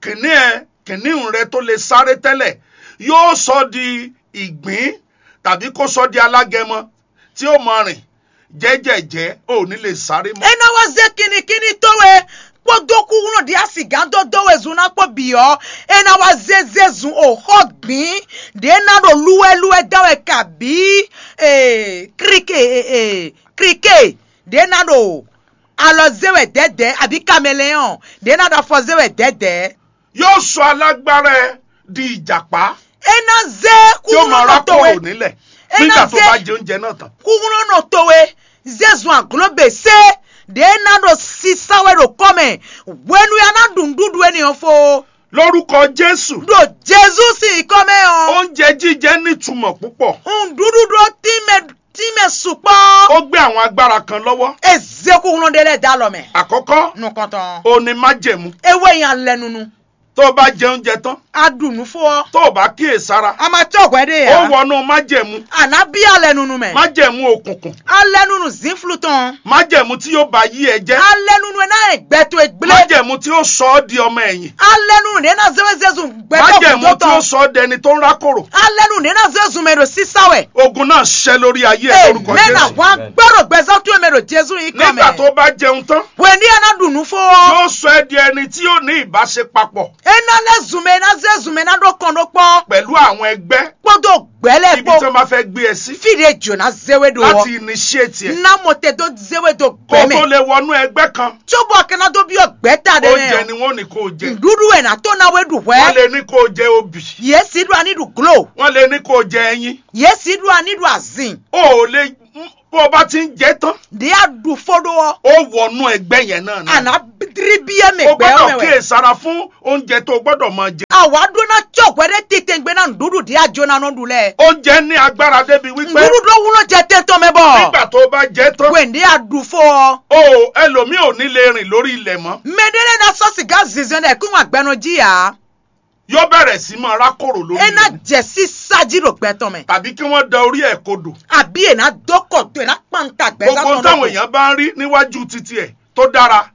kìnìún ẹ, kìnìún rẹ tó lè sáré tẹ́lẹ̀, yóò sọ di ìgbín tàbí kó sọ di alágẹmọ tí ó mọ rìn jẹ́jẹ̀jẹ́, ò ní lè sáré mọ́. É ná wá zé kinnikínní towe kpódó kúkúnú ɖi asigǎn dó dó we zun ná kpó bǐ ɔ́, é ná wá zé zé zun o xɔ gbǐn ɖě ná ɖo lúwɛ́lúwɛ́ dán wɛ kabǐ ee, krike ee, krike ɖě ná ɖo alɔ zé wɛ dɛ̌dɛ̌ abǐ kamɛlɛ́ɔn ɖě ná ɖo afɔ zé wɛ dɛ̌dɛ̌. Yóò sọ alágbára ẹ di ìjàpá É ná zé tí ó máa kúkúnú rákò towe. Nílẹ̀ É ná nígbà tó zé bá jẹ oúnjẹ náà tán. Kúkúnú towe zé zun àglóbèsé ɖě ná ɖo sísá wɛ ɖo kɔ́ mɛ hwenu ya ná ɖu nǔɖuɖu énɛ́ ɔ́ fó. Lórúkọ Jésù. Ɖo Jezu sín nyǐkɔ mɛ ɔ́. Oúnjẹ jíjẹ nítumọ̀ púpọ̀. Nǔɖuɖu ɖó tínmɛ tínmɛ sukpɔ́. Ó gbé àwọn agbára kan lọ́wọ́. É zé kúkúnú ɖé lɛ́ɛ dó alɔ mɛ. Àkọ́kọ́. Nukɔntɔn. O ní májẹ̀mú. É wɛ nyí alɛnunu. Tó o bá jẹ oúnjẹ tán. A ɖu nǔ fó ɔ́. Tó o bá kíyè sára. A ma tɔ́ hwɛ ɖé Ó ǎ. Wọnú májẹ̀mú. A nǎ bí alɛnunu mɛ. Májẹ̀mú òkùnkùn. Alɛnunu zǐnflu tɔn. Májẹ̀mú tí yóò ba yí ẹ jẹ́. Alɛnunu e ná yɛ gbɛ towe gblé. Májẹ̀mú tí yóò sọ ọ́ di ọmọ ẹ̀yìn. Alɛnunu ɖě ná zé we zé zun gbɛtɔ́ Májẹ̀mú gúdo tí yóò tɔn. Sọ ọ́ dẹni tó ń rákòrò. Alɛnunu ɖě ná zé zun mɛ ɖo sísá wɛ. Ogun náà ṣẹ lórí ayé ẹ lórúkọ Amen. Jésù. Wá gbọ́dọ̀ gbɛzán tó mɛ ɖo Jezu yín kɔ Nígbà mɛ. Tó bá jẹun tán, Wɛn ní a ná ɖu nǔ fó ɔ́. Yóò sọ ẹ́ di ẹni tí yóò ní ìbáṣe papọ̀ É ná lɛ́ zun mɛ, é ná zé zun mɛ ná ɖó kɔn ɖó kpɔ́. Pẹ̀lú àwọn ẹgbẹ́. Kpódó gbɛ̌ lɛ́ɛ Ibi tí kpó. Wọ́n bá fẹ́ gbé ẹ sí. Fí ɖě jǒ ná zé we ɖo Láti ɔ́. Initiate ẹ. Ná mo te dó zé we dó Kó gbɛ̌ o tó mɛ. Lè wọnú ẹgbẹ́ kan. Tso bɔ a ka ná dó byɔ́ gbɛ̌ ta ɖé Oúnjẹ mɛ ni ɔ́. Wọ́n ní kó o jẹ. Nǔɖuɖu wɛ ná tó ná we ɖu Wọ́n hwɛ̌. Lè ní kó o jẹ obì. Yě sì ɖu aní ɖu glo. Wọ́n lè ní kó o jẹ ẹyin. Yě sì ɖu aní ɖu azin. O ò lè bó o bá ti ń jẹ tán. Ɖě a ɖu fó ɖó ɔ́. Ó wọnú ẹgbẹ́ yẹn náà A náà. Ná tlíbíyé mɛ O gbɛ ɔ́ mɛ gbọ́dọ̀ wɛ. kíyèsára fún oúnjẹ tó o gbọ́dọ̀ máa jẹ. Àwa ɖó ná cɔ́ hwɛ ɖé titɛngbé ná nǔɖuɖu ɖě a jó ná nɔ ɖu lɛ́ɛ. Oúnjẹ ní agbára débi wípé Nǔɖuɖu wúló jɛ tɛn tɔn mɛ bɔ. Nígbà tó o bá jẹ tán, Wěndé a ɖu fó ɔ. o ẹlòmíì ò ní lè rìn lórí ilẹ̀ mọ́. Mɛɖé lɛ́ɛ ná sɔ́ sìgá zinzɔn ɖɛ kún agbɛnɔ jí ǎ. Yóò bẹ̀rẹ̀ sí máa rákòrò lórí É ná ilẹ̀. jɛ sísá jí ɖo gbɛ tɔn mɛ. Tàbí kí wọ́n da orí ẹ̀ kodò. Àbí è ná dó kɔ dó è ná kpanta gbɛ Gbogbo ohun táwọn èèyàn bá ń rí níwájú títí ẹ̀ tó dára,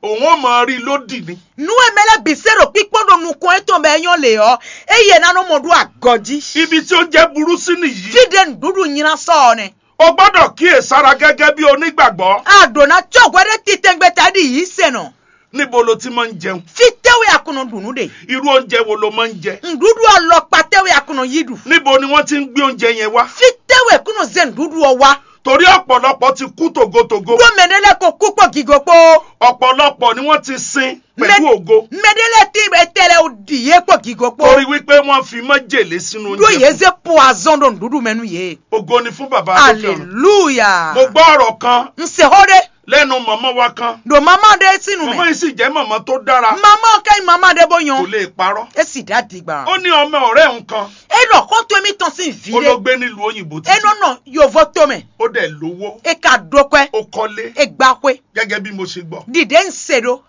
òun ó máa rí lódì ni. Nú e mɛ lɛ́ɛ bǐ se ɖo kpíkpɔ́n ɖo nukɔn étɔn bɔ é nyɔ́ lě ɔ́, eye ná nɔ mɔ ɖó agɔ jí. Ibi tí ó jẹ́ burú sí nìyí. Fí ɖé nǔɖuɖu nylá sɔ ɔ́ nɛ. O gbọ́dọ̀ kíyèsára gẹ́gẹ́ bí onígbàgbọ́. A ɖǒ ná cɔ́ hwɛ ɖé titɛngbé ta ɖi yǐ se nɔ. Níbo lo ti máa ń jẹun? Fí tɛ́wé a kún nɔ ɖu nǔ ɖe? Irú oúnjẹ wo lo máa ń jẹ? Nǔɖuɖu alɔkpa tɛ́wé a kún nɔ yí ɖu? Níbo ni wọ́n ti ń gbé oúnjẹ yẹn wá? Fí tɛ́wé kún nɔ zé nǔɖuɖu ɔ́ wá? Torí ọ̀pọ̀lọpọ̀ ti kú tògótògó. Ɖó mɛ ɖé lɛ́ɛ ko kú kpó gigo kpó. Ọ̀pọ̀lọpọ̀ ni wọ́n ti sin pẹ̀lú ògo. Mɛ ɖé lɛ́ɛ tí etɛ lɛ́ɛ ɖi yé kpó gigo kpó. Torí wípé wọ́n fi májèlé sínú Ɖó yě oúnjẹ. zé poison ɖo nǔɖuɖu mɛ nú yě. Ògo ni fún bàbá lókè ọ̀run. Aleluya. Mo gbọ́ ọ̀rọ̀ kan N se xó ɖé. Lẹ́nu màmá wa kan. Ɖo mama ɖé sín nu Màmá mɛ. Yìí sì jẹ́ màmá tó dára. Mama ka nyí mama ɖé bó Kò nyɔ. Lè parọ́. E sì dá dìgbà. Ó ní ọmọ ọ̀rẹ́ òun kan. E ɖɔ xɔ́ntɔn émítɔn sín vǐ Ó ló ɖé. Gbé nílùú òyìnbó E nɔ títí. Nɔ yovo to mɛ. Ó dẹ̀ lówó. E ka ɖó kwɛ. Ó kọ́lé. E gba xwé. Gẹ́gẹ́ bí mo ṣe gbọ́. Ɖiɖe ń se ɖó.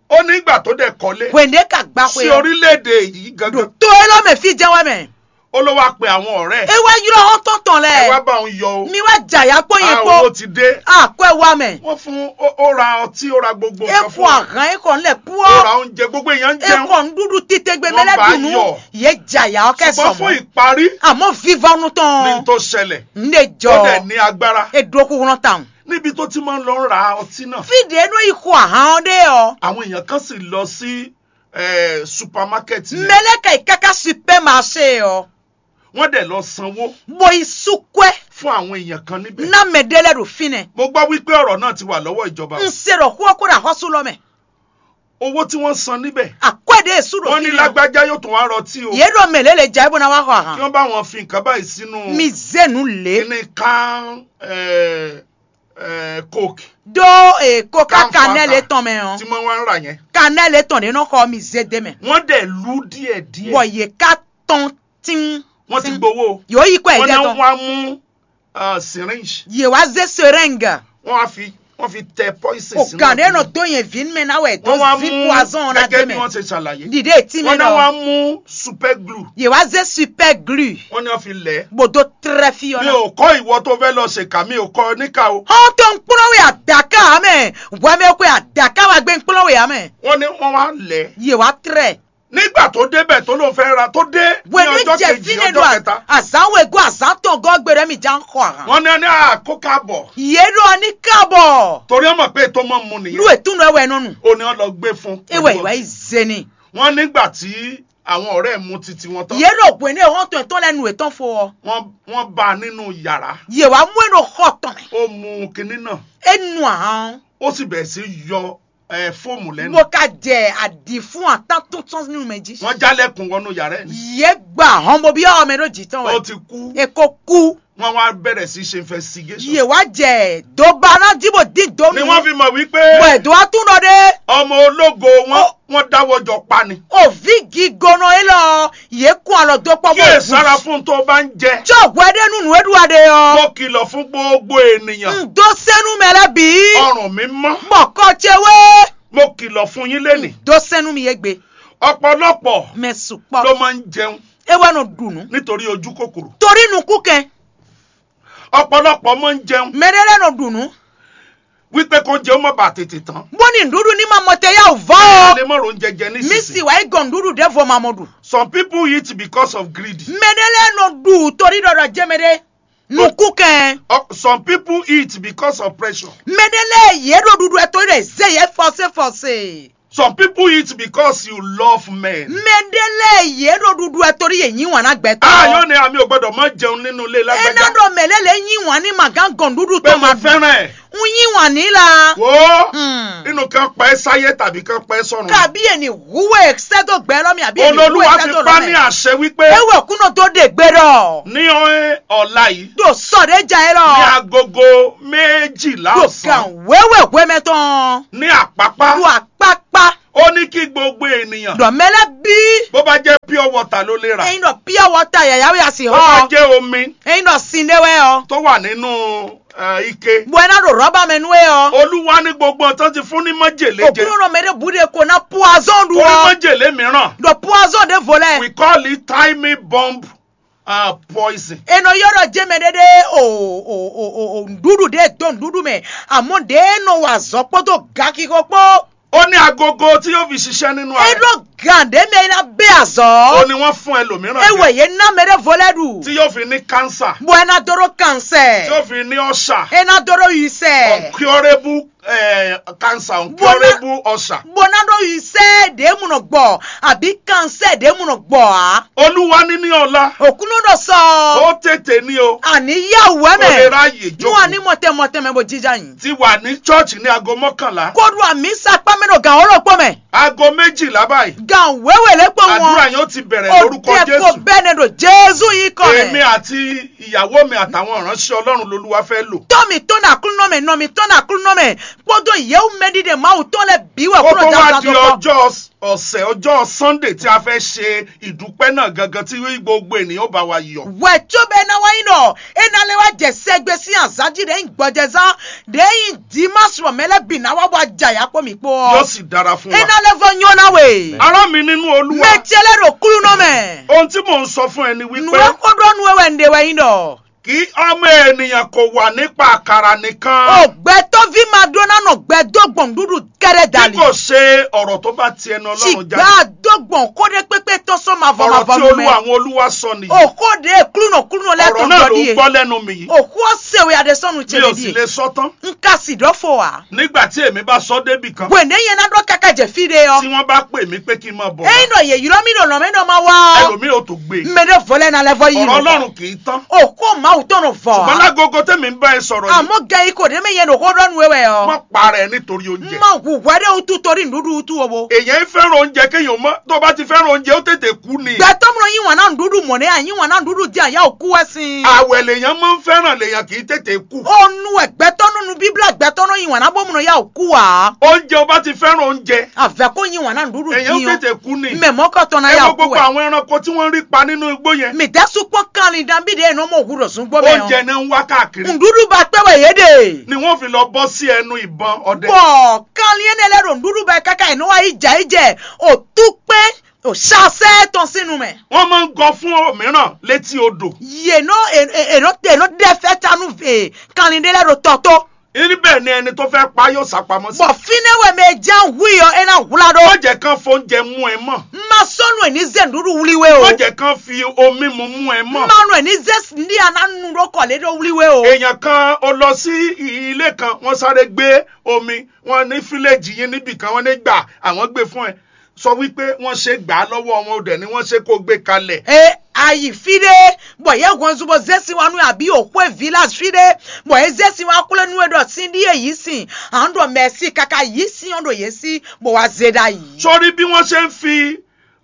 Ó ní ìgbà tó dẹ̀ kọ́lé. Hwende ka gba xwé. Sí orílẹ̀-èdè yìí gangan. To e lɔ mɛ fí jẹ́ wɛ mɛ. Ó ló wá pe àwọn ọ̀rẹ́. E wá yrɔ xɔ́ntɔn tɔn Ẹ wá lɛ. Bá òun yọ o. Mi wá jàyà kpó yẹn Ah, kpó. Owó ti dé. A kɔ ɛ wá mɛ. Wọ́n fún ó ó ra ọtí, ó ra gbogbo E nǹkan kɔ fún. Àhán e kɔ ńlẹ̀ Ó ra kpó. Oúnjẹ gbogbo èèyàn ń E jẹun. Kɔ nɖuɖu titɛgbe mɛ Wọ́n lɛ bá dunu. Yọ. Ye jàyà ɔ kɛ Ṣùgbọ́n fún sɔmɔ. Ìparí Àmọ́ vivɔnu ní tɔn. Tó ṣẹlẹ̀. N de Ó dẹ̀ jɔ. Ní agbára. E dro kuhlɔn tawun. Níbi tó ti máa ń lọ ra ọtí náà. Fi de nɔ yi xɔ ahan ɔ ɖe ɔ. Àwọn èèyàn kan sì lọ sí eh, supermarket yẹn. Mɛ lɛ ka yi kaka supermarché ɔ. Wọ́n dẹ̀ lọ sanwó. Bo yi sukwɛ. Fún àwọn èèyàn kan níbẹ̀. Na mɛ ɖe lɛ ɖo fi nɛ. Mo gbọ́ wípé ọ̀rọ̀ náà ti wà lọ́wọ́ ìjọba. N se ɖɔ xó ɔkó ɖo axɔsu lɔ mɛ. Owó tí wọ́n san níbẹ̀. Akwɛ ɖe su ɖo Wọ́n fi ní nɛ. Lágbájá yóò tún wá rọtí o. Ye ɖo mɛ lɛ le dza ebo na wa xɔ Kí ahan. Wọ́n bá wọn fi nǹkan báyìí sínú. Mi ze nu le. Kíní kan eh, eh, coke. Do e koka Kan kanɛ Fanta. Le tɔn mɛ ɔ. Tí wọ́n wá ń rà yẹn. Kanɛ le tɔn de nɔ xɔ mi ze de mɛ. Wọ́n dẹ̀ lú díẹ̀díẹ̀. Bɔ ye ka tɔn tin. Wọ́n ti gbowó. Yo yi kɔ Wọ́n ɛdɛ náà tɔn. Wá mú ah, syringe. Ye wa ze seringue. Wọ́n wá fi wọ́n fi tẹ poison O sínú. gan de nɔ do yẹn vi mɛ na wɛ to Wọ́n wá vi mú poison na de gẹ́gẹ́ bí mɛ. Wọ́n ṣe ṣàlàyé. Dide ti mɛ Wọ́n náà wá nɔ. Mú super glue. Ye wa ze super glue. Wọ́n ní wọ́n fi lẹ̀. Bo do trɛ fi Mi ɔ na. Ò kọ́ ìwọ tó fẹ́ lọ ṣèkà, mi ò kọ́ níkà o. Hɔn to nkplɔn we adaka mɛ. Wɛmɛ ko adaka wa gbe nkplɔn we amɛ. Wọ́n ní wọ́n wá lẹ̀. Ye wa trɛ. Nígbà tó débẹ̀ tó ló fẹ́ ra tó dé ní Wɛ ní ọjọ́ jɛ kejì fi ne ọjọ́ do kẹta. Azan we go azan tɔn gɔ gbe ɖe mi jan xɔ ahan. Wọ́n ní ní àkókò àbọ̀. Ye ɖo ani kabɔ. Torí wọ́n mọ̀ pé tó mọ̀ mu nìyẹn. Lu etun ɖo ɛwɛ nɔnu. Ó ní wọ́n lọ gbé fún. Ewɛ wa yi zeni. Wọ́n nígbà tí àwọn ọ̀rẹ́ mu titi wọn tán. Ye ɖo bwe ne hɔn tɔn tɔn lɛ nu etɔn fo ɔ. Wọ́n wọ́n bá a nínú yàrá. Ye wa mu eno xɔ tɔn mɛ. Ó mu kinní náà. Enu ahan. Ó sì bẹ̀rẹ̀ sí yọ ẹ fóòmù lẹ́nu. Mo ka jɛ adi fún atan tó tɔn nínú mɛ jí. Wọ́n jálẹ̀kùn wọnú yàrá ẹ̀ ni. Ye gba hɔn bo bi ɔ mɛ ɖo jitɔn Ó wɛ. Ti kú. Eko ku. Wọ́n wá bẹ̀rẹ̀ sí ṣe investigation. Ye wa jɛ do ba na ji bo di do Ni nu. Wọ́n fi mọ̀ wípé Bɔ edo wa tún nɔ ɖe. Ọmọ ológo wọn Ó. Wọ́n dáwọ́ jọ pa ni. O vi gigonɔ elɔ ye kun alɔ do kpɔ Kí èsàrà fún tó bá ń jẹ. Tsɔ hwɛ ɖe nu nu eɖu aɖe ɔ. Mo kìlọ̀ fún gbogbo ènìyàn. N do senu mɛ lɛ bi. Ọrùn mi mọ́. Mɔkɔ tse we. Mo kìlọ̀ fún yín lẹ́nìí. Do senu mi ye gbe. Ọ̀pọ̀lọpọ̀ Mɛ sukpɔ. Ló máa ń jẹun Ewɛ nɔ ɖu nu. Nítorí ojú kòkòrò. Torí nukú kɛ. Ọ̀pọ̀lọpọ̀ máa ń jẹun Mɛ ɖe lɛ nɔ ɖu nu. Wípé kó jẹun má bàa tètè tán. Bó ni nuɖuɖu ní ma mɔ tɛ yá o vɔ. Ẹ lè má ro oúnjẹ jẹ Mi nísinsìnyí. Si wa yi gɔn nuɖuɖu ɖe vɔ ma mɔ ɖu. Some people eat because of greed. Mɛ ɖe lɛ nɔ ɖu torí ɖɔɖɔ jɛ mɛ ɖe. Nukú kɛ. Oh, some people eat because of pressure. Mɛ ɖe lɛ ye ɖo ɖuɖu ɛ torí ɖe ze ye fɔse fɔse. Some people eat because you love men. Mɛ ɖe lɛ ye ɖo ɖuɖu ɛ torí ye nyi wan na gbɛtɔ. Ah, yóò ní àmì ò gbọ́dọ̀ má jẹun nínú ilé Ena lágbájá. Ɖo mɛ lɛ le nyi wan ni ma gán gɔn ɖuɖu Pé tɔn mo ma dùn. Fẹ́ràn ẹ̀. N nyi wan ni la. Wo Hmm. Inú kan pa ẹ́ sáyé tàbí kan pa ẹ́ sọ̀run. Kabi ye ni hu we sɛ do gbɛ lɔ mi abi ye ni hu we Olólùwà sɛ fi do pa lɔ ní mi. Àṣẹ wípé Ewe kunɔ do de gbe ɖɔ. Ní ọ̀la yìí. Do sɔ ɖe ja ye Ní lɔ. Agogo méjìlá Do ọ̀sán. Gan wewe hwemɛ tɔn. Ní àpápá. Do akpakpa. ènìyàn. Ɖɔ mɛ lɛ́ɛ bí. Bó bá jẹ́ pure water ló lè rà. Eyín ɖɔ pure water yàyà wí àsì hɔ. Bó bá jẹ́ omi. Eyín ɖɔ sin ɖé wɛ ɔ. Tó wà nínú ike. Bɔ ẹ ná ɖo rɔba mɛ nú ɛ ɔ. Olúwa ní gbogbo ọ̀tán ti fún ní májèlé jẹ. Òkúrò mɛ ɖé bu ɖe ko ná poison ɖu. Ó ní ɔ. Májèlé mìíràn. Ɖɔ poison ɖé vo lɛ. We call it timing bomb, uh, poison. Enɔ yɔrɔ jɛ mɛ ɖé ɖé o o o o o ŋɖuɖu ɖé do ŋɖuɖu mɛ. Àmọ́ ɖé nɔ wa azɔ̌ kpódó gakixɔ kpó. Ó ní agogo tí yóò fi ṣiṣẹ́ nínú ayé. Eɖo gǎn ɖé mɛ ná bɛ azɔ̌. Ó ní wọ́n fún ẹlòmíràn. Ewɔ yě ná mɛ ɖé vo lɛ ɖu. Tí yóò fi ní cancer. Bɔ ẹ ná dó ɖó kansɛ. Tí yóò fi ní ọ̀ṣà. Ẹ ná dó ɖó yisɛ. Uncurable, eh, cancer, uncurable ọ̀ṣà. Bó ná ɖó yisɛ ɖé mu nɔ gbɔ àbí kansɛ ɖé mu nɔ gbɔ á. Olúwa ní ní ọlá. Òkúnú ɖo sɔ. Ó tètè ní o. Àní yá wẹ́ mɛ. Ó lè ráyè jókòó. Nú àní mọ̀tẹ́ mọ̀tẹ́ mɛ bó jíjá yìí. Ti wà ní church ní aago mọ́kànlá. Kó ɖu àmì sapá mɛ ɖo gǎn ó lɔ kpó mɛ. Aago méjìlá báyìí. Gǎn wéwè lé kpó wọn. Àdúrà yóò ti bẹ̀rẹ̀ lórúkọ Jésù. Òde kò bẹ́ẹ̀ ni ɖo Jésù yìí kọ mɛ. Èmi àti ìyàwó mi àtàwọn ìránṣẹ́ Ọlọ́run lolúwa fẹ́ lò. Tọ́ mi tɔn na kúnú mɛ, nɔ mi tɔn na kúnú mɛ. Kpódó yɛwú mɛ ɖiɖe Mawu tɔn lɛ bí wɛ kúrò. Kókó wá di ọjọ́ ọ̀sẹ̀, ọjọ́ Sunday tí a fẹ́ ṣe ìdúpẹ́ náà gangan tí gbogbo ènìyàn bá wa yọ̀. Wɛ tso bɛ na wá yín ɖɔ é ná lé wá jɛ sɛgbe sín azǎn jí ɖe nyí gbɔjɛzán ɖe nyí dimanche bɔ mɛ lɛ́ɛ bǐ ná wá bɔ ajayá kpó mì kpó ɔ́. Yóò sì dára fún wa. É ná lé vɔ nyɔ́ ná we. Ará mi nínú Olúwa. Mɛ ce lɛ́ɛ ɖo kúlúnɔ mɛ. Ohun tí mò ń sọ fún ẹ ni wípé. Nǔ e xó ɖɔ nú we wɛ un ɖe wɛ nyí ɖɔ. Kí ọmọ ènìyàn kò wà nípa àkàrà nìkan. Ògbẹ́tọ́ví máa dó ná nɔ gbẹ dó gbɔ̀n dúdú kɛ́ɖɛ́ Bí dali. Kò ṣe ọ̀rọ̀ tó bá ti ẹnu Ọlọ́run jáde. Ṣùgbọ́n àdógbọ̀n kódé pépé tán sọ máa vọ máa Ọ̀rọ̀ vọ tí nú Olúwa mẹ́. Àwọn olúwa sọ nìyí. Òkóde klúnɔ klúnọ lɛ Ọ̀rọ̀ tán náà ló gbọ́ ń díẹ̀. Gbọ́ lẹ́nu mi yìí. Òkú ọ̀sẹ̀ wẹ̀ adé sọ́nu Mi ò sì tiẹ̀ lè díẹ̀. Sọ tán. N ka sì dɔ́ fo wá. Nígbà tí èmi bá sọ débì kan. Gbèndé yẹn ná dó káká jẹ fí ɖé Tí ɔ. Wọ́n bá pè mí pé kí n máa bọ̀ wá. Eyín nɔ yè ylɔ mí ɖo nɔ mɛ nɔ ma wá ɔ. Ẹlòmíì ò tó gbé. Mɛ ɖé vɔ lɛ na lɛ vɔ yi Ọ̀rọ̀ nɔ Ọlọ́run kì í tán. Òkú Mawu tɔn nɔ vɔ Ṣùgbọ́n á. Lágogo tẹ́mi ń bá ẹ sọ̀rọ̀ yìí. Àmọ́ gẹ yìí kò dé mɛ yẹn ɖo xó ɖɔ nu wɛ ɔ. Má para ẹ nítorí oúnjẹ. Má hu hwɛ ɖé wutu torí nǔɖuɖu wutu o bo. Èèyàn ń fẹ́ràn oúnjẹ kéèyàn mọ́. Tó bá ti fẹ́ràn oúnjẹ, ó tètè kú ni. Gbɛtɔ́ mlɔ yín wàn ná nǔɖuɖu mɔ̌ nɛ́ a yín wàn ná nǔɖuɖu dín àyà òkú wɛ sin. Àwẹ̀ lèèyàn máa ń fẹ́ràn, lèèyàn kì í tètè kú. Ó nu wɛ gbɛtɔ́ nú nu bíblá gbɛtɔ́ nɔ yín wàn ná bó mlɔ yá òkú wà. Oúnjẹ, ó bá ti fẹ́ràn oúnjẹ. Àvɛ kó yín wàn ná nǔɖuɖu Èèyàn ó dín ɔ. Tètè kú ni. Mɛ mɔ̌kɔtɔn ná Ẹ yá wo òkú gbogbo wɛ. Àwọn ẹranko tí wọ́n ń rí pa nínú igbó yẹn. Mì dá súpɔ́n kanlin dan bí ɖe nɔ mɔ hu ɖɔ zún gbó mɛ Oúnjẹ ɔ. Náà ń wá káàkiri. Nǔɖuɖu ba kpɛ wɛ yě ɖe. Ni wọ́n fi lọ bọ́ sí ẹnu ìbọn ọdẹ. Bɔ kanlin énɛ́ lɛ́ɛ ɖo nǔɖuɖu ba káká è nɔ wá yi jɛ yi jɛ òtúkpɛ́n òṣàṣẹ́ tɔn sín nu mɛ. Wọ́n máa ń gọ fún òmíràn létí odò. Yě nɔ è nɔ è nɔ ɖɛ fɛ́ ta nú kanlin ɖé lɛ́ɛ ɖo tɔ tó. Níbẹ̀ ni ẹni tó fẹ́ pa yóò sá pamọ́ sí. Bɔ fínɛ́ wɛ mɛ e ján hu i ɔ é ná hwlá ɖó. Má jẹ́ kán fó oúnjẹ mú ẹ mọ́. Ma sɔ́ nú ẹ̀ ní zé nǔɖuɖu wlí we o. Má jẹ́ kán fi omi mu mú ẹ mọ́. Ma nú ẹ̀ ní zé ní a ná nu ɖó kɔ lé ɖó wlí we o. Èèyàn kan, ó lọ sí ilé kan, wọ́n sáré gbé omi, wọ́n ní fílẹ̀jì yín níbì kan, wọ́n ní gbà àwọn gbé fún ẹ. Sọ wípé wọ́n ṣe gbà á lọ́wọ́ wọn, ó dẹ̀ ni wọ́n ṣe kó gbé kalẹ̀. E ayi fí ɖé bɔ yě hɔn zú bó zé sin wá nú àbí òxwé village fí ɖé bɔ é zé sin wá xwlé nú é ɖɔ sín ɖíe yǐ sin à ń ɖɔ mɛ̌si káká yǐ sin ɔ́ ɖo yě sí bó wá zé ɖ'ayǐ. Sórí bí wọ́n ṣe ń fi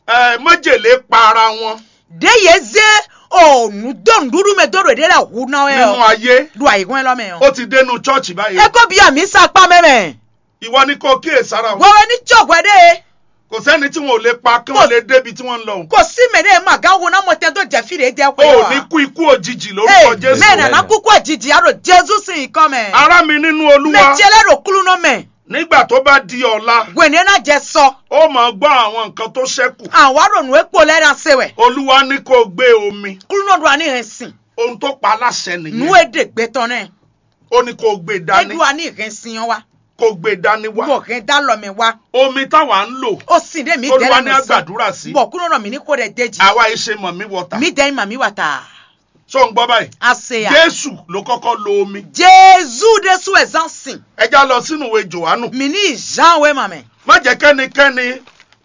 eh, májèlé pa ara wọn. Ɖě yě zé o nǔ dó nǔɖuɖu mɛ dó ɖo ɖě lɛ́ɛ hu ná wɛ Nínú ɔ́ ayé, ɖo ayǐhɔ́n élɔ́ mɛ ɔ́. Ó ti dénú church báyìí. É kó bí àmì sápá mɛ mɛ. Ìwọ ni kò kíyè sára o. Wɛwɛ ní tsɔ hwɛ ɖé. Kò sẹ́ni tí wọn ò lè pa kí wọ́n lè débi tí wọ́n ń lọ o. Kò sí mɛ ɖé ma gán wo ná mɔ tɛn dó jɛ fí ɖě jɛ O xwé ò wa. Ní kú ikú òjijì lórúkọ Ee, Jésù. Mɛ nana kúkú jìjì á ɖo Jezu sín nyǐkɔ mɛ. Ará mi nínú Olúwa. Mɛ ce lɛ ɖo klúnɔ mɛ. Nígbà tó bá di ọ̀la, Hwɛ̌nɛ́ ná jɛ sɔ. Ó máa gbọ́ àwọn nǹkan tó ṣẹ́kù. Àwa ɖo nǔ e kpo lɛ́ɛ ná se wɛ. Olúwa ní kó gbé omi. Klúnɔ ɖo ani hɛn sin. Ohun tó pa láṣẹ Nǔ nìyẹn. E ɖe gbɛtɔ́ nɛ. Ó ní kó gbé E dání. Ɖo ani hɛn sin ɔ́ wá. Kó gbé dání wá. Bɔ hɛn dá lɔ mɛ wá. Omi táwa ń lò. O sin ɖe mi Olúwa dɛ ní lɛ sɔ. Àgbàdúrà sí. Bɔ kúrò nɔ mi ní kó ɖɛ dé jì. Àwa yìí ṣe mọ̀ mí wọ̀tà. Mi dɛ ma mi wà ta. Ṣó ń gbọ́ báyìí? A se ya. Jésù ló kọ́kọ́ lo omi. Jezu ɖésú wɛ zán sin. Ẹ já lọ sínú ìwé Jòhánù. Mi ní Jean wɛ ma mɛ. Má jẹ́ kẹ́nikẹ́ni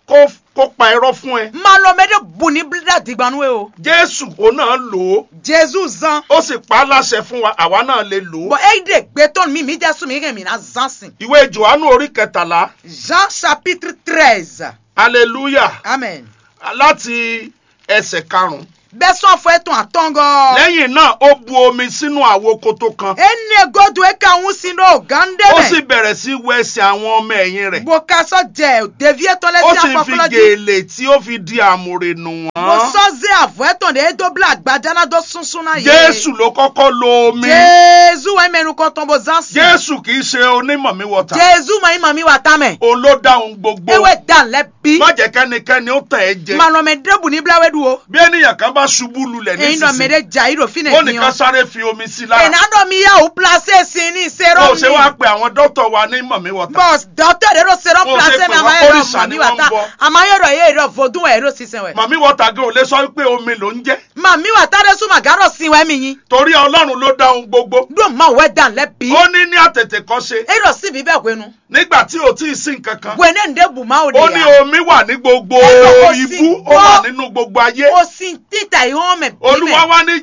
kó kó pa irọ́ fún ẹ. Ma lɔ mɛ ɖé bu ní blíɖá digbanu e o. Jésù òun náà lò ó. Jezu zán. Ó sì pa á láṣẹ fún wa, àwa náà lè lò ó. Bɔn eyi ɖe gbɛtɔn mi mi jásù mi hɛn mi ná zán sin. Ìwé Jòhánù orí kẹtàlá. Jean chapitre treize. Hallelujah. Amen. Láti ẹsẹ̀ karùn-ún. Bɛ́ sɔ́ afɔ étɔn atɔngɔ́. Lẹ́yìn náà, ó bu omi sínú àwo kótó kan. Énɛ́ gúdo é ka wún sin ɖó gǎn ɖé Ó mɛ. Sì bẹ̀rẹ̀ sí wẹ ẹsẹ̀ àwọn ọmọ ẹ̀yìn rẹ̀. Bó ka sɔ́ jɛ ɖeví étɔn lɛ́ɛ Ó sín sì fi afɔklɔ́ jí. Gèlè tí ó fi di àmùrè nù Bó wọ́n. Sɔ́ zé avɔ étɔn ɖě é dó blá agbaja ná dó súnsún ná yě. Jésù ló kọ́kọ́ lo omi. Jezu wɛ mɛ nukɔntɔn bó zán sí. Jésù kì í ṣe onímọ̀ mi wọ̀ta. Jezu mɔ yín mɔ mi wà tá mɛ. Òun ló dá ohun gbogbo. Ewé dan lɛ bí. Má jẹ́ kẹ́nikẹ́ni ó tàn ẹ́ jẹ. Mànà mɛ ɖěbù ní blá wɛ ɖu o. Bí ènìyàn kan bá ṣubú lulẹ̀ Èyí nɔ mɛ nísinsìnyí, ɖé jà yí ɖo fínɛ ó ní ká dín ɔ. Sáré fi omi sí lára. Ènà ɖɔ mi yá wò plasé sin ní Bó o ṣe wá serɔmi. Pe àwọn dókítà wa ní mọ̀ mí wọ̀tá. Bọ́s dɔtɔ ɖe ɖo serɔm Bó o ṣe plasé pè mɛ wọ́n àmà yóò kórìṣà mọ̀ ni mí wà wọ́n ń tá. Bọ́. Àmà yóò ɖɔ yé ɖɔ vodún wɛ ɖo sísɛ wɛ. Mọ̀ mí wọ̀tá gan ò lè sọ pé omi ló ń jẹ́. Màmí wà tá ɖé súnmọ́ gán ɖɔ sin wɛ mi nyi. Torí Ọlọ́run ló dá ohun gbogbo. Ɖó ma wɛ dan lɛ bí. Ó ní ní àtètè kọ́ ṣe. E ɖɔ sí bí bɛ hwenu. Nígbà tí ò tí ì sí nǹkan kan. Hwenu ɖe bu ma o Ó ní de. Omi wà ní gbogbo Ẹ lọ kó ibú, sin ó wà gbọ́. Nínú gbogbo ayé. O sin títà ìhọ́n mɛ bí Olúwa mɛ. Wá ní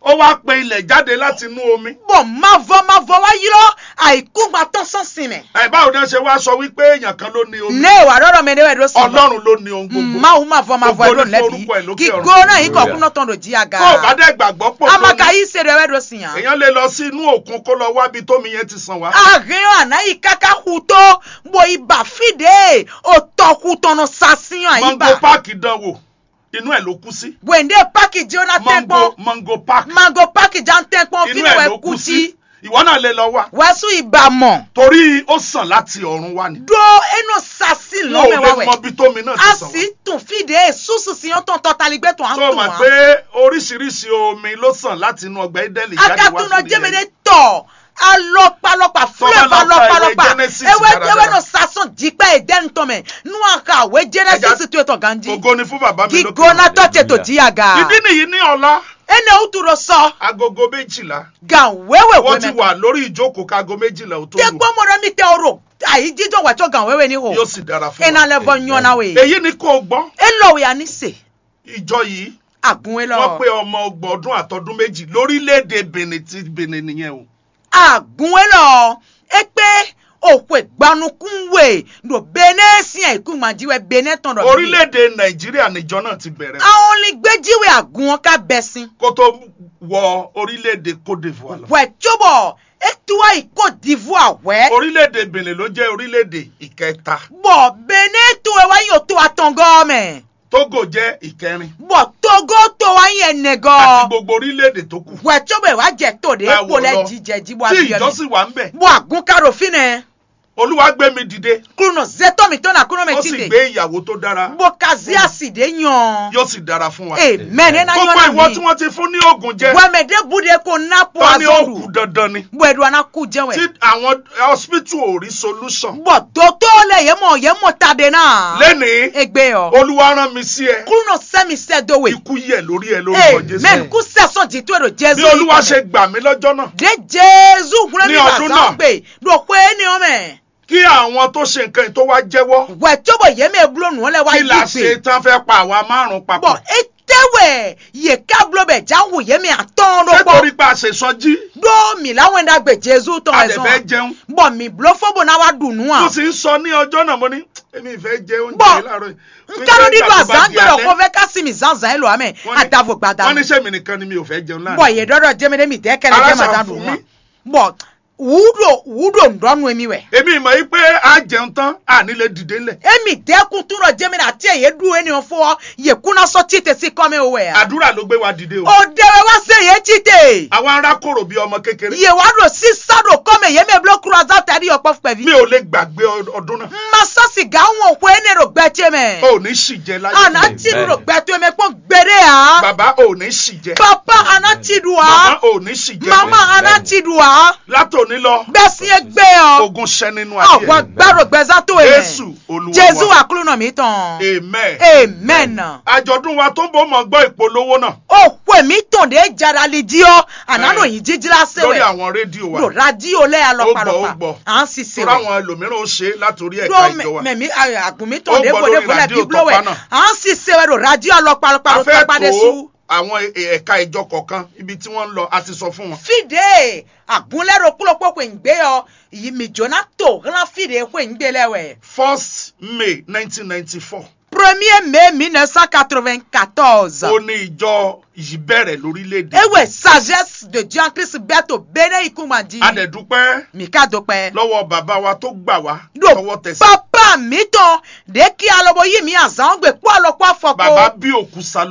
ó wá pe ilẹ̀ jáde láti inú omi. Bɔ mavɔ mavɔ wá ylɔ́ àìkúngban tɔn sɔ́ sin mɛ. Ẹ báwo ni wọ́n ṣe wá sọ wípé èèyàn kan ló ní omi? Ne wà ɖɔɖɔ mɛ ɖé wɛ ɖó sin. Ọlọ́run ló ní ohun gbogbo. Mawu mavɔ mavɔ Gbogbo ló ní lɛbi. Forúkọ ẹ̀ lókè Kíkó ọ̀run. Náà yí kọ̀kú náà tɔn ɖo jí aga. Tó o bá dẹ̀ gbàgbọ́ pò Amaka lónìí, yí se ɖe wɛ ɖó sin ya. Èèyàn lè lọ sí inú òkun kó lọ wá ibi tómi yẹn ti sàn wá. Ahɛn ɔ àná yí káká xu tó, bó yi ba fí ɖě o tɔ xu tɔn nɔ sa sin ɔ àyí Mango ba. Park dán wò, inú ẹ̀ ló kú sí. Wende paki jí ó ná tẹ́ Mango pɔn. Mango Park. Mango paki já ń tẹ́ pɔn Inú fínú ẹ̀ wɛ ló kú kú sí. Sí. Ìwọ náà lè lọ wá. Wá sún ìbà mọ̀. Torí ó sàn láti ọ̀run wá ni. Ɖó é nɔ sa sí Wọn ò lɔmɛ lè wá mọ wɛ. Ibi tómi náà ti A sàn wá. Sì tún fìdí èsúsù sí yán tán tán taligbé tán á Tó o tún mọ̀ wá. Pé oríṣiríṣi omi ló sàn láti inú ọgbà Édẹ́nì jáde wá Akatúnú síbi jẹ́mi yẹn. Ní tọ̀ alɔkpalɔkpa Tó o bá fleuve lọ ka ìwé alɔkpalɔkpa. Genesis Ewé dáradára. Ewé nɔ sasɔn jíkpá Édẹ́nì tɔn mɛ. Nú a ka wé Genesis Ẹja- tó etɔn ganjí. Ògo ni fún bàbá mi lókè Gígóná ọ̀run. Tọ́ ṣe tò jí aga. Ìdí nìyí ní ọ̀la. Énɛ́ wútu ɖo sɔ. Agogo méjìlá. Gan wéwe Wọ́n ti wé mɛ. Wà lórí ìjókòó kágo méjìlá ò tó lù. Tẹ́gbọ́n mo ɖe mi tɛ o ɖo. Àyí jíjọ wà tó gan wéwe ní ho. Yóò sì dára fún wa. Ena lɛ vɔ nyɔ na we. Èyí ni kò gbọ́. Elɔ wɛ ani se. Ìjọ yìí. Agun elɔ. Wọ́n pé ọmọ ọgbọ̀n ọdún àtọdún méjì lórílẹ̀‐èdè Benin tí Benin nìyẹn o. Agun elɔ. E pé òxwe gbanukun we ɖo Benin sín àyíkúngban jí wɛ Benin tɔn ɖɔ. Orílẹ̀‐èdè Nàìjíríà níjọ náà ti bẹ̀rẹ̀. Àwọn olùgbé jí wɛ agun ɔ́ ká bɛ sín. Kó tó wọ orílẹ̀‐èdè Côte d'Ivoire lọ. Wɛ cóbɔ é tú wá yi Côte d'Ivoire wɛ. Orílẹ̀‐èdè Benin ló jẹ́ orílẹ̀‐èdè ìkẹta. Bɔ Benin to ɛ wá yi oto atɔngɔ mɛ. Togo jẹ́ ìkẹrin. Bɔ Togo to wá yi ẹnẹgɔ. Àti gbogbo orílẹ̀-èdè tó kù. Wɛ tó bɛ wá jɛ to de Ẹ wò kpo lɛ lọ. Jijɛ ji bɔ Tí abiyɔ ìjọ sì wà ń bẹ̀. Bɔ agun ka ɖo fi nɛ. Olúwa gbé mi dìde. Kunɔ zetɔ mi tɔn na kunɔ mɛ Ó sì tite. Gbé ìyàwó tó dára. Bɔ kazi asi de nyɔ. Yóò sì dára fún wa. Amen ena Gbogbo nyɔ ìwọ na tí mi. Wọ́n ti fún ní oògùn jẹ. Bɔ mɛ de bu de ko na po Tọ́ ni ó azɔru. Kú dandan ni. Bɔ eɖo ana ku jɛ Tí wɛ. Àwọn hospital ò rí solution. Bɔ dotɔ lɛ yɛ mɔ yɛ mɔ ta de na. Lẹ́nìí, Egbe yɔ. Olúwa rán mi sí ẹ. Kunɔ sɛ mi sɛ do we. Ikú yẹ lórí ẹ lórúkọ Jésù. Amen. Kú sɛ sɔn jitu ero Jésù. Bí Olúwa ṣe gbà mí lọ́jọ́ náà. De Jésù wúlò Ní mi ọdún bàtà náà. Gbé. Ɖo xwe énɛ́ ɔ́ mɛ. Kí àwọn tó ṣe nǹkan yìí tó wá jẹ́wọ́. Wɛ tó bɔ yě mɛ bló nù ɔ́ lɛ wá Kí yí la gbé. Ṣe tán fẹ́ pa àwa márùn-ún papọ̀. Bɔn é tɛ wɛ yě ká bló bɛ já hu yě mɛ atɔ́ɔ́n ɖó Ṣé kpɔ́. Torí pé a ṣe sɔjí? Ɖó mǐ lá wɛn ɖagbe Jezu tɔn A wɛ dẹ̀ zɔn. Fẹ́ jẹun. Bɔn mǐ bló fó bó ná wá ɖu nǔ Mo a. Sì ń sọ ní ọjọ́ náà, mo ní, èmi ì fẹ́ jẹ oúnjẹ Bɔn yìí láàárọ̀ yìí. N Wípé ká ló ní do nígbà tó bá azán di gbèrò alẹ́, kó fẹ́ ká sí mi zánzán ẹ lò amẹ. Wọ́n ní, Adavo gbada. Wọ́n ní ṣé mi nìkan ni mi ò fẹ́ jẹun láàárọ̀? Bɔn yě ɖɔɖɔ jẹmɛ ɖé mi dẹ́ kɛlɛ Ara jẹ ṣàn màdá fún dùn mi. Wọn. Bɔn wúɖò wúɖò ŋɖɔnú emi wɛ. Èmi mọ̀ yí pé a jẹun tán, a ní lè dìde ńlẹ̀. Emi dẹ́kun tún lọ jẹ́ mi ɖe àti ẹ̀yẹ́ ɖu ẹni ɔ̀fọ́ yẹ kú ná sọ tí tẹ̀sí kọ́ mi wò wẹ̀ ya. Àdúrà ló gbé wa dìde o. Òde wɛ wá se yé tí te. Àwa ará kòrò bí ọmọ kékeré. Yè wá ɖo sísá ɖo kọ́ mi yé mi bló kúrò azá tàbí ọ̀pọ̀ fúnpẹ̀ ví. Mi ò lè gbàgbé ọ- ọdún náà. Masa sìgá wọn òkú ẹni ɖo gbẹ tí mɛ. O ò ní ṣì jẹ láyé. Àná tí mi ɖo gbẹ tó mi kpọ́n gbére ya. Bàbá, o ò ní ṣì jẹ. Papa, àná tí ɖu wa. Màmá, o ò ní ṣì jẹ. Mama, àná tí ɖu wa. Látòní lọ, Gbẹ̀sìn egbé ọ. Ogun ṣẹ nínú ayé Àwọn rẹ. Gbàrò gbẹ̀zá tó yẹn. Jésù Olúwa Jésù wa. Àkúrúnà mi tán. Amen. Amen. Àjọ̀dún wa tó ń bọ̀ mọ̀ gbọ́ ìpolówó náà. Òpó mi tàn dé jara li jí ọ. Àná Ẹ. Ló yín jíjí lásán Lórí wẹ̀. Àwọn rédíò wa. Lò rádíò lẹ́ Ó gbọ́, ó alọ́pàlọ́pà. Gbọ́. À ń ṣiṣẹ́ Torí wẹ̀. Àwọn ẹlòmíràn ó ṣe é látòrí ẹ̀ka Dó ìjọ wa. Mẹ̀mí àgùn mi Ó tàn dé gbọ́ bòde lórí bòlẹ̀ rádíò bíbló wẹ̀. Tọ́pá náà. À ń ṣiṣẹ́ wẹ̀ lò rádíò alọ́pàlọ́pà A ló fẹ́ tọ́pá dé tó sú. Àwọn e- ẹ̀ka ìjọ kọ̀ọ̀kan ibi tí wọ́n ń lọ, a ti sọ fún wọn. Fídè àgúnlẹ́rọ kúlókpó xwe ń gbé ọ, yìí mì jóná tó hlán fídè xwe ń gbé lẹ́ wẹ̀. First May nineteen ninety-four. premier mai mille neuf cent quatre-vingt-quatorze. Ó ní ìjọ yìí bẹ̀rẹ̀ lórílẹ̀‐èdè. Ewé sagesse de Dieu en Christ bɛ́ to Bénin yìí kún ma di. A dẹ̀ dúpẹ́ Mi ka do pɛ. Lọ́wọ́ bàbá wa tó gbà wá Ɖo tọwọ́ tẹsẹ̀. Papa mi tɔn ɖe ki alo bo yi mi azan gbe kpɔ alo kpɔ afɔ Bàbá ko. Bí Òkú Salo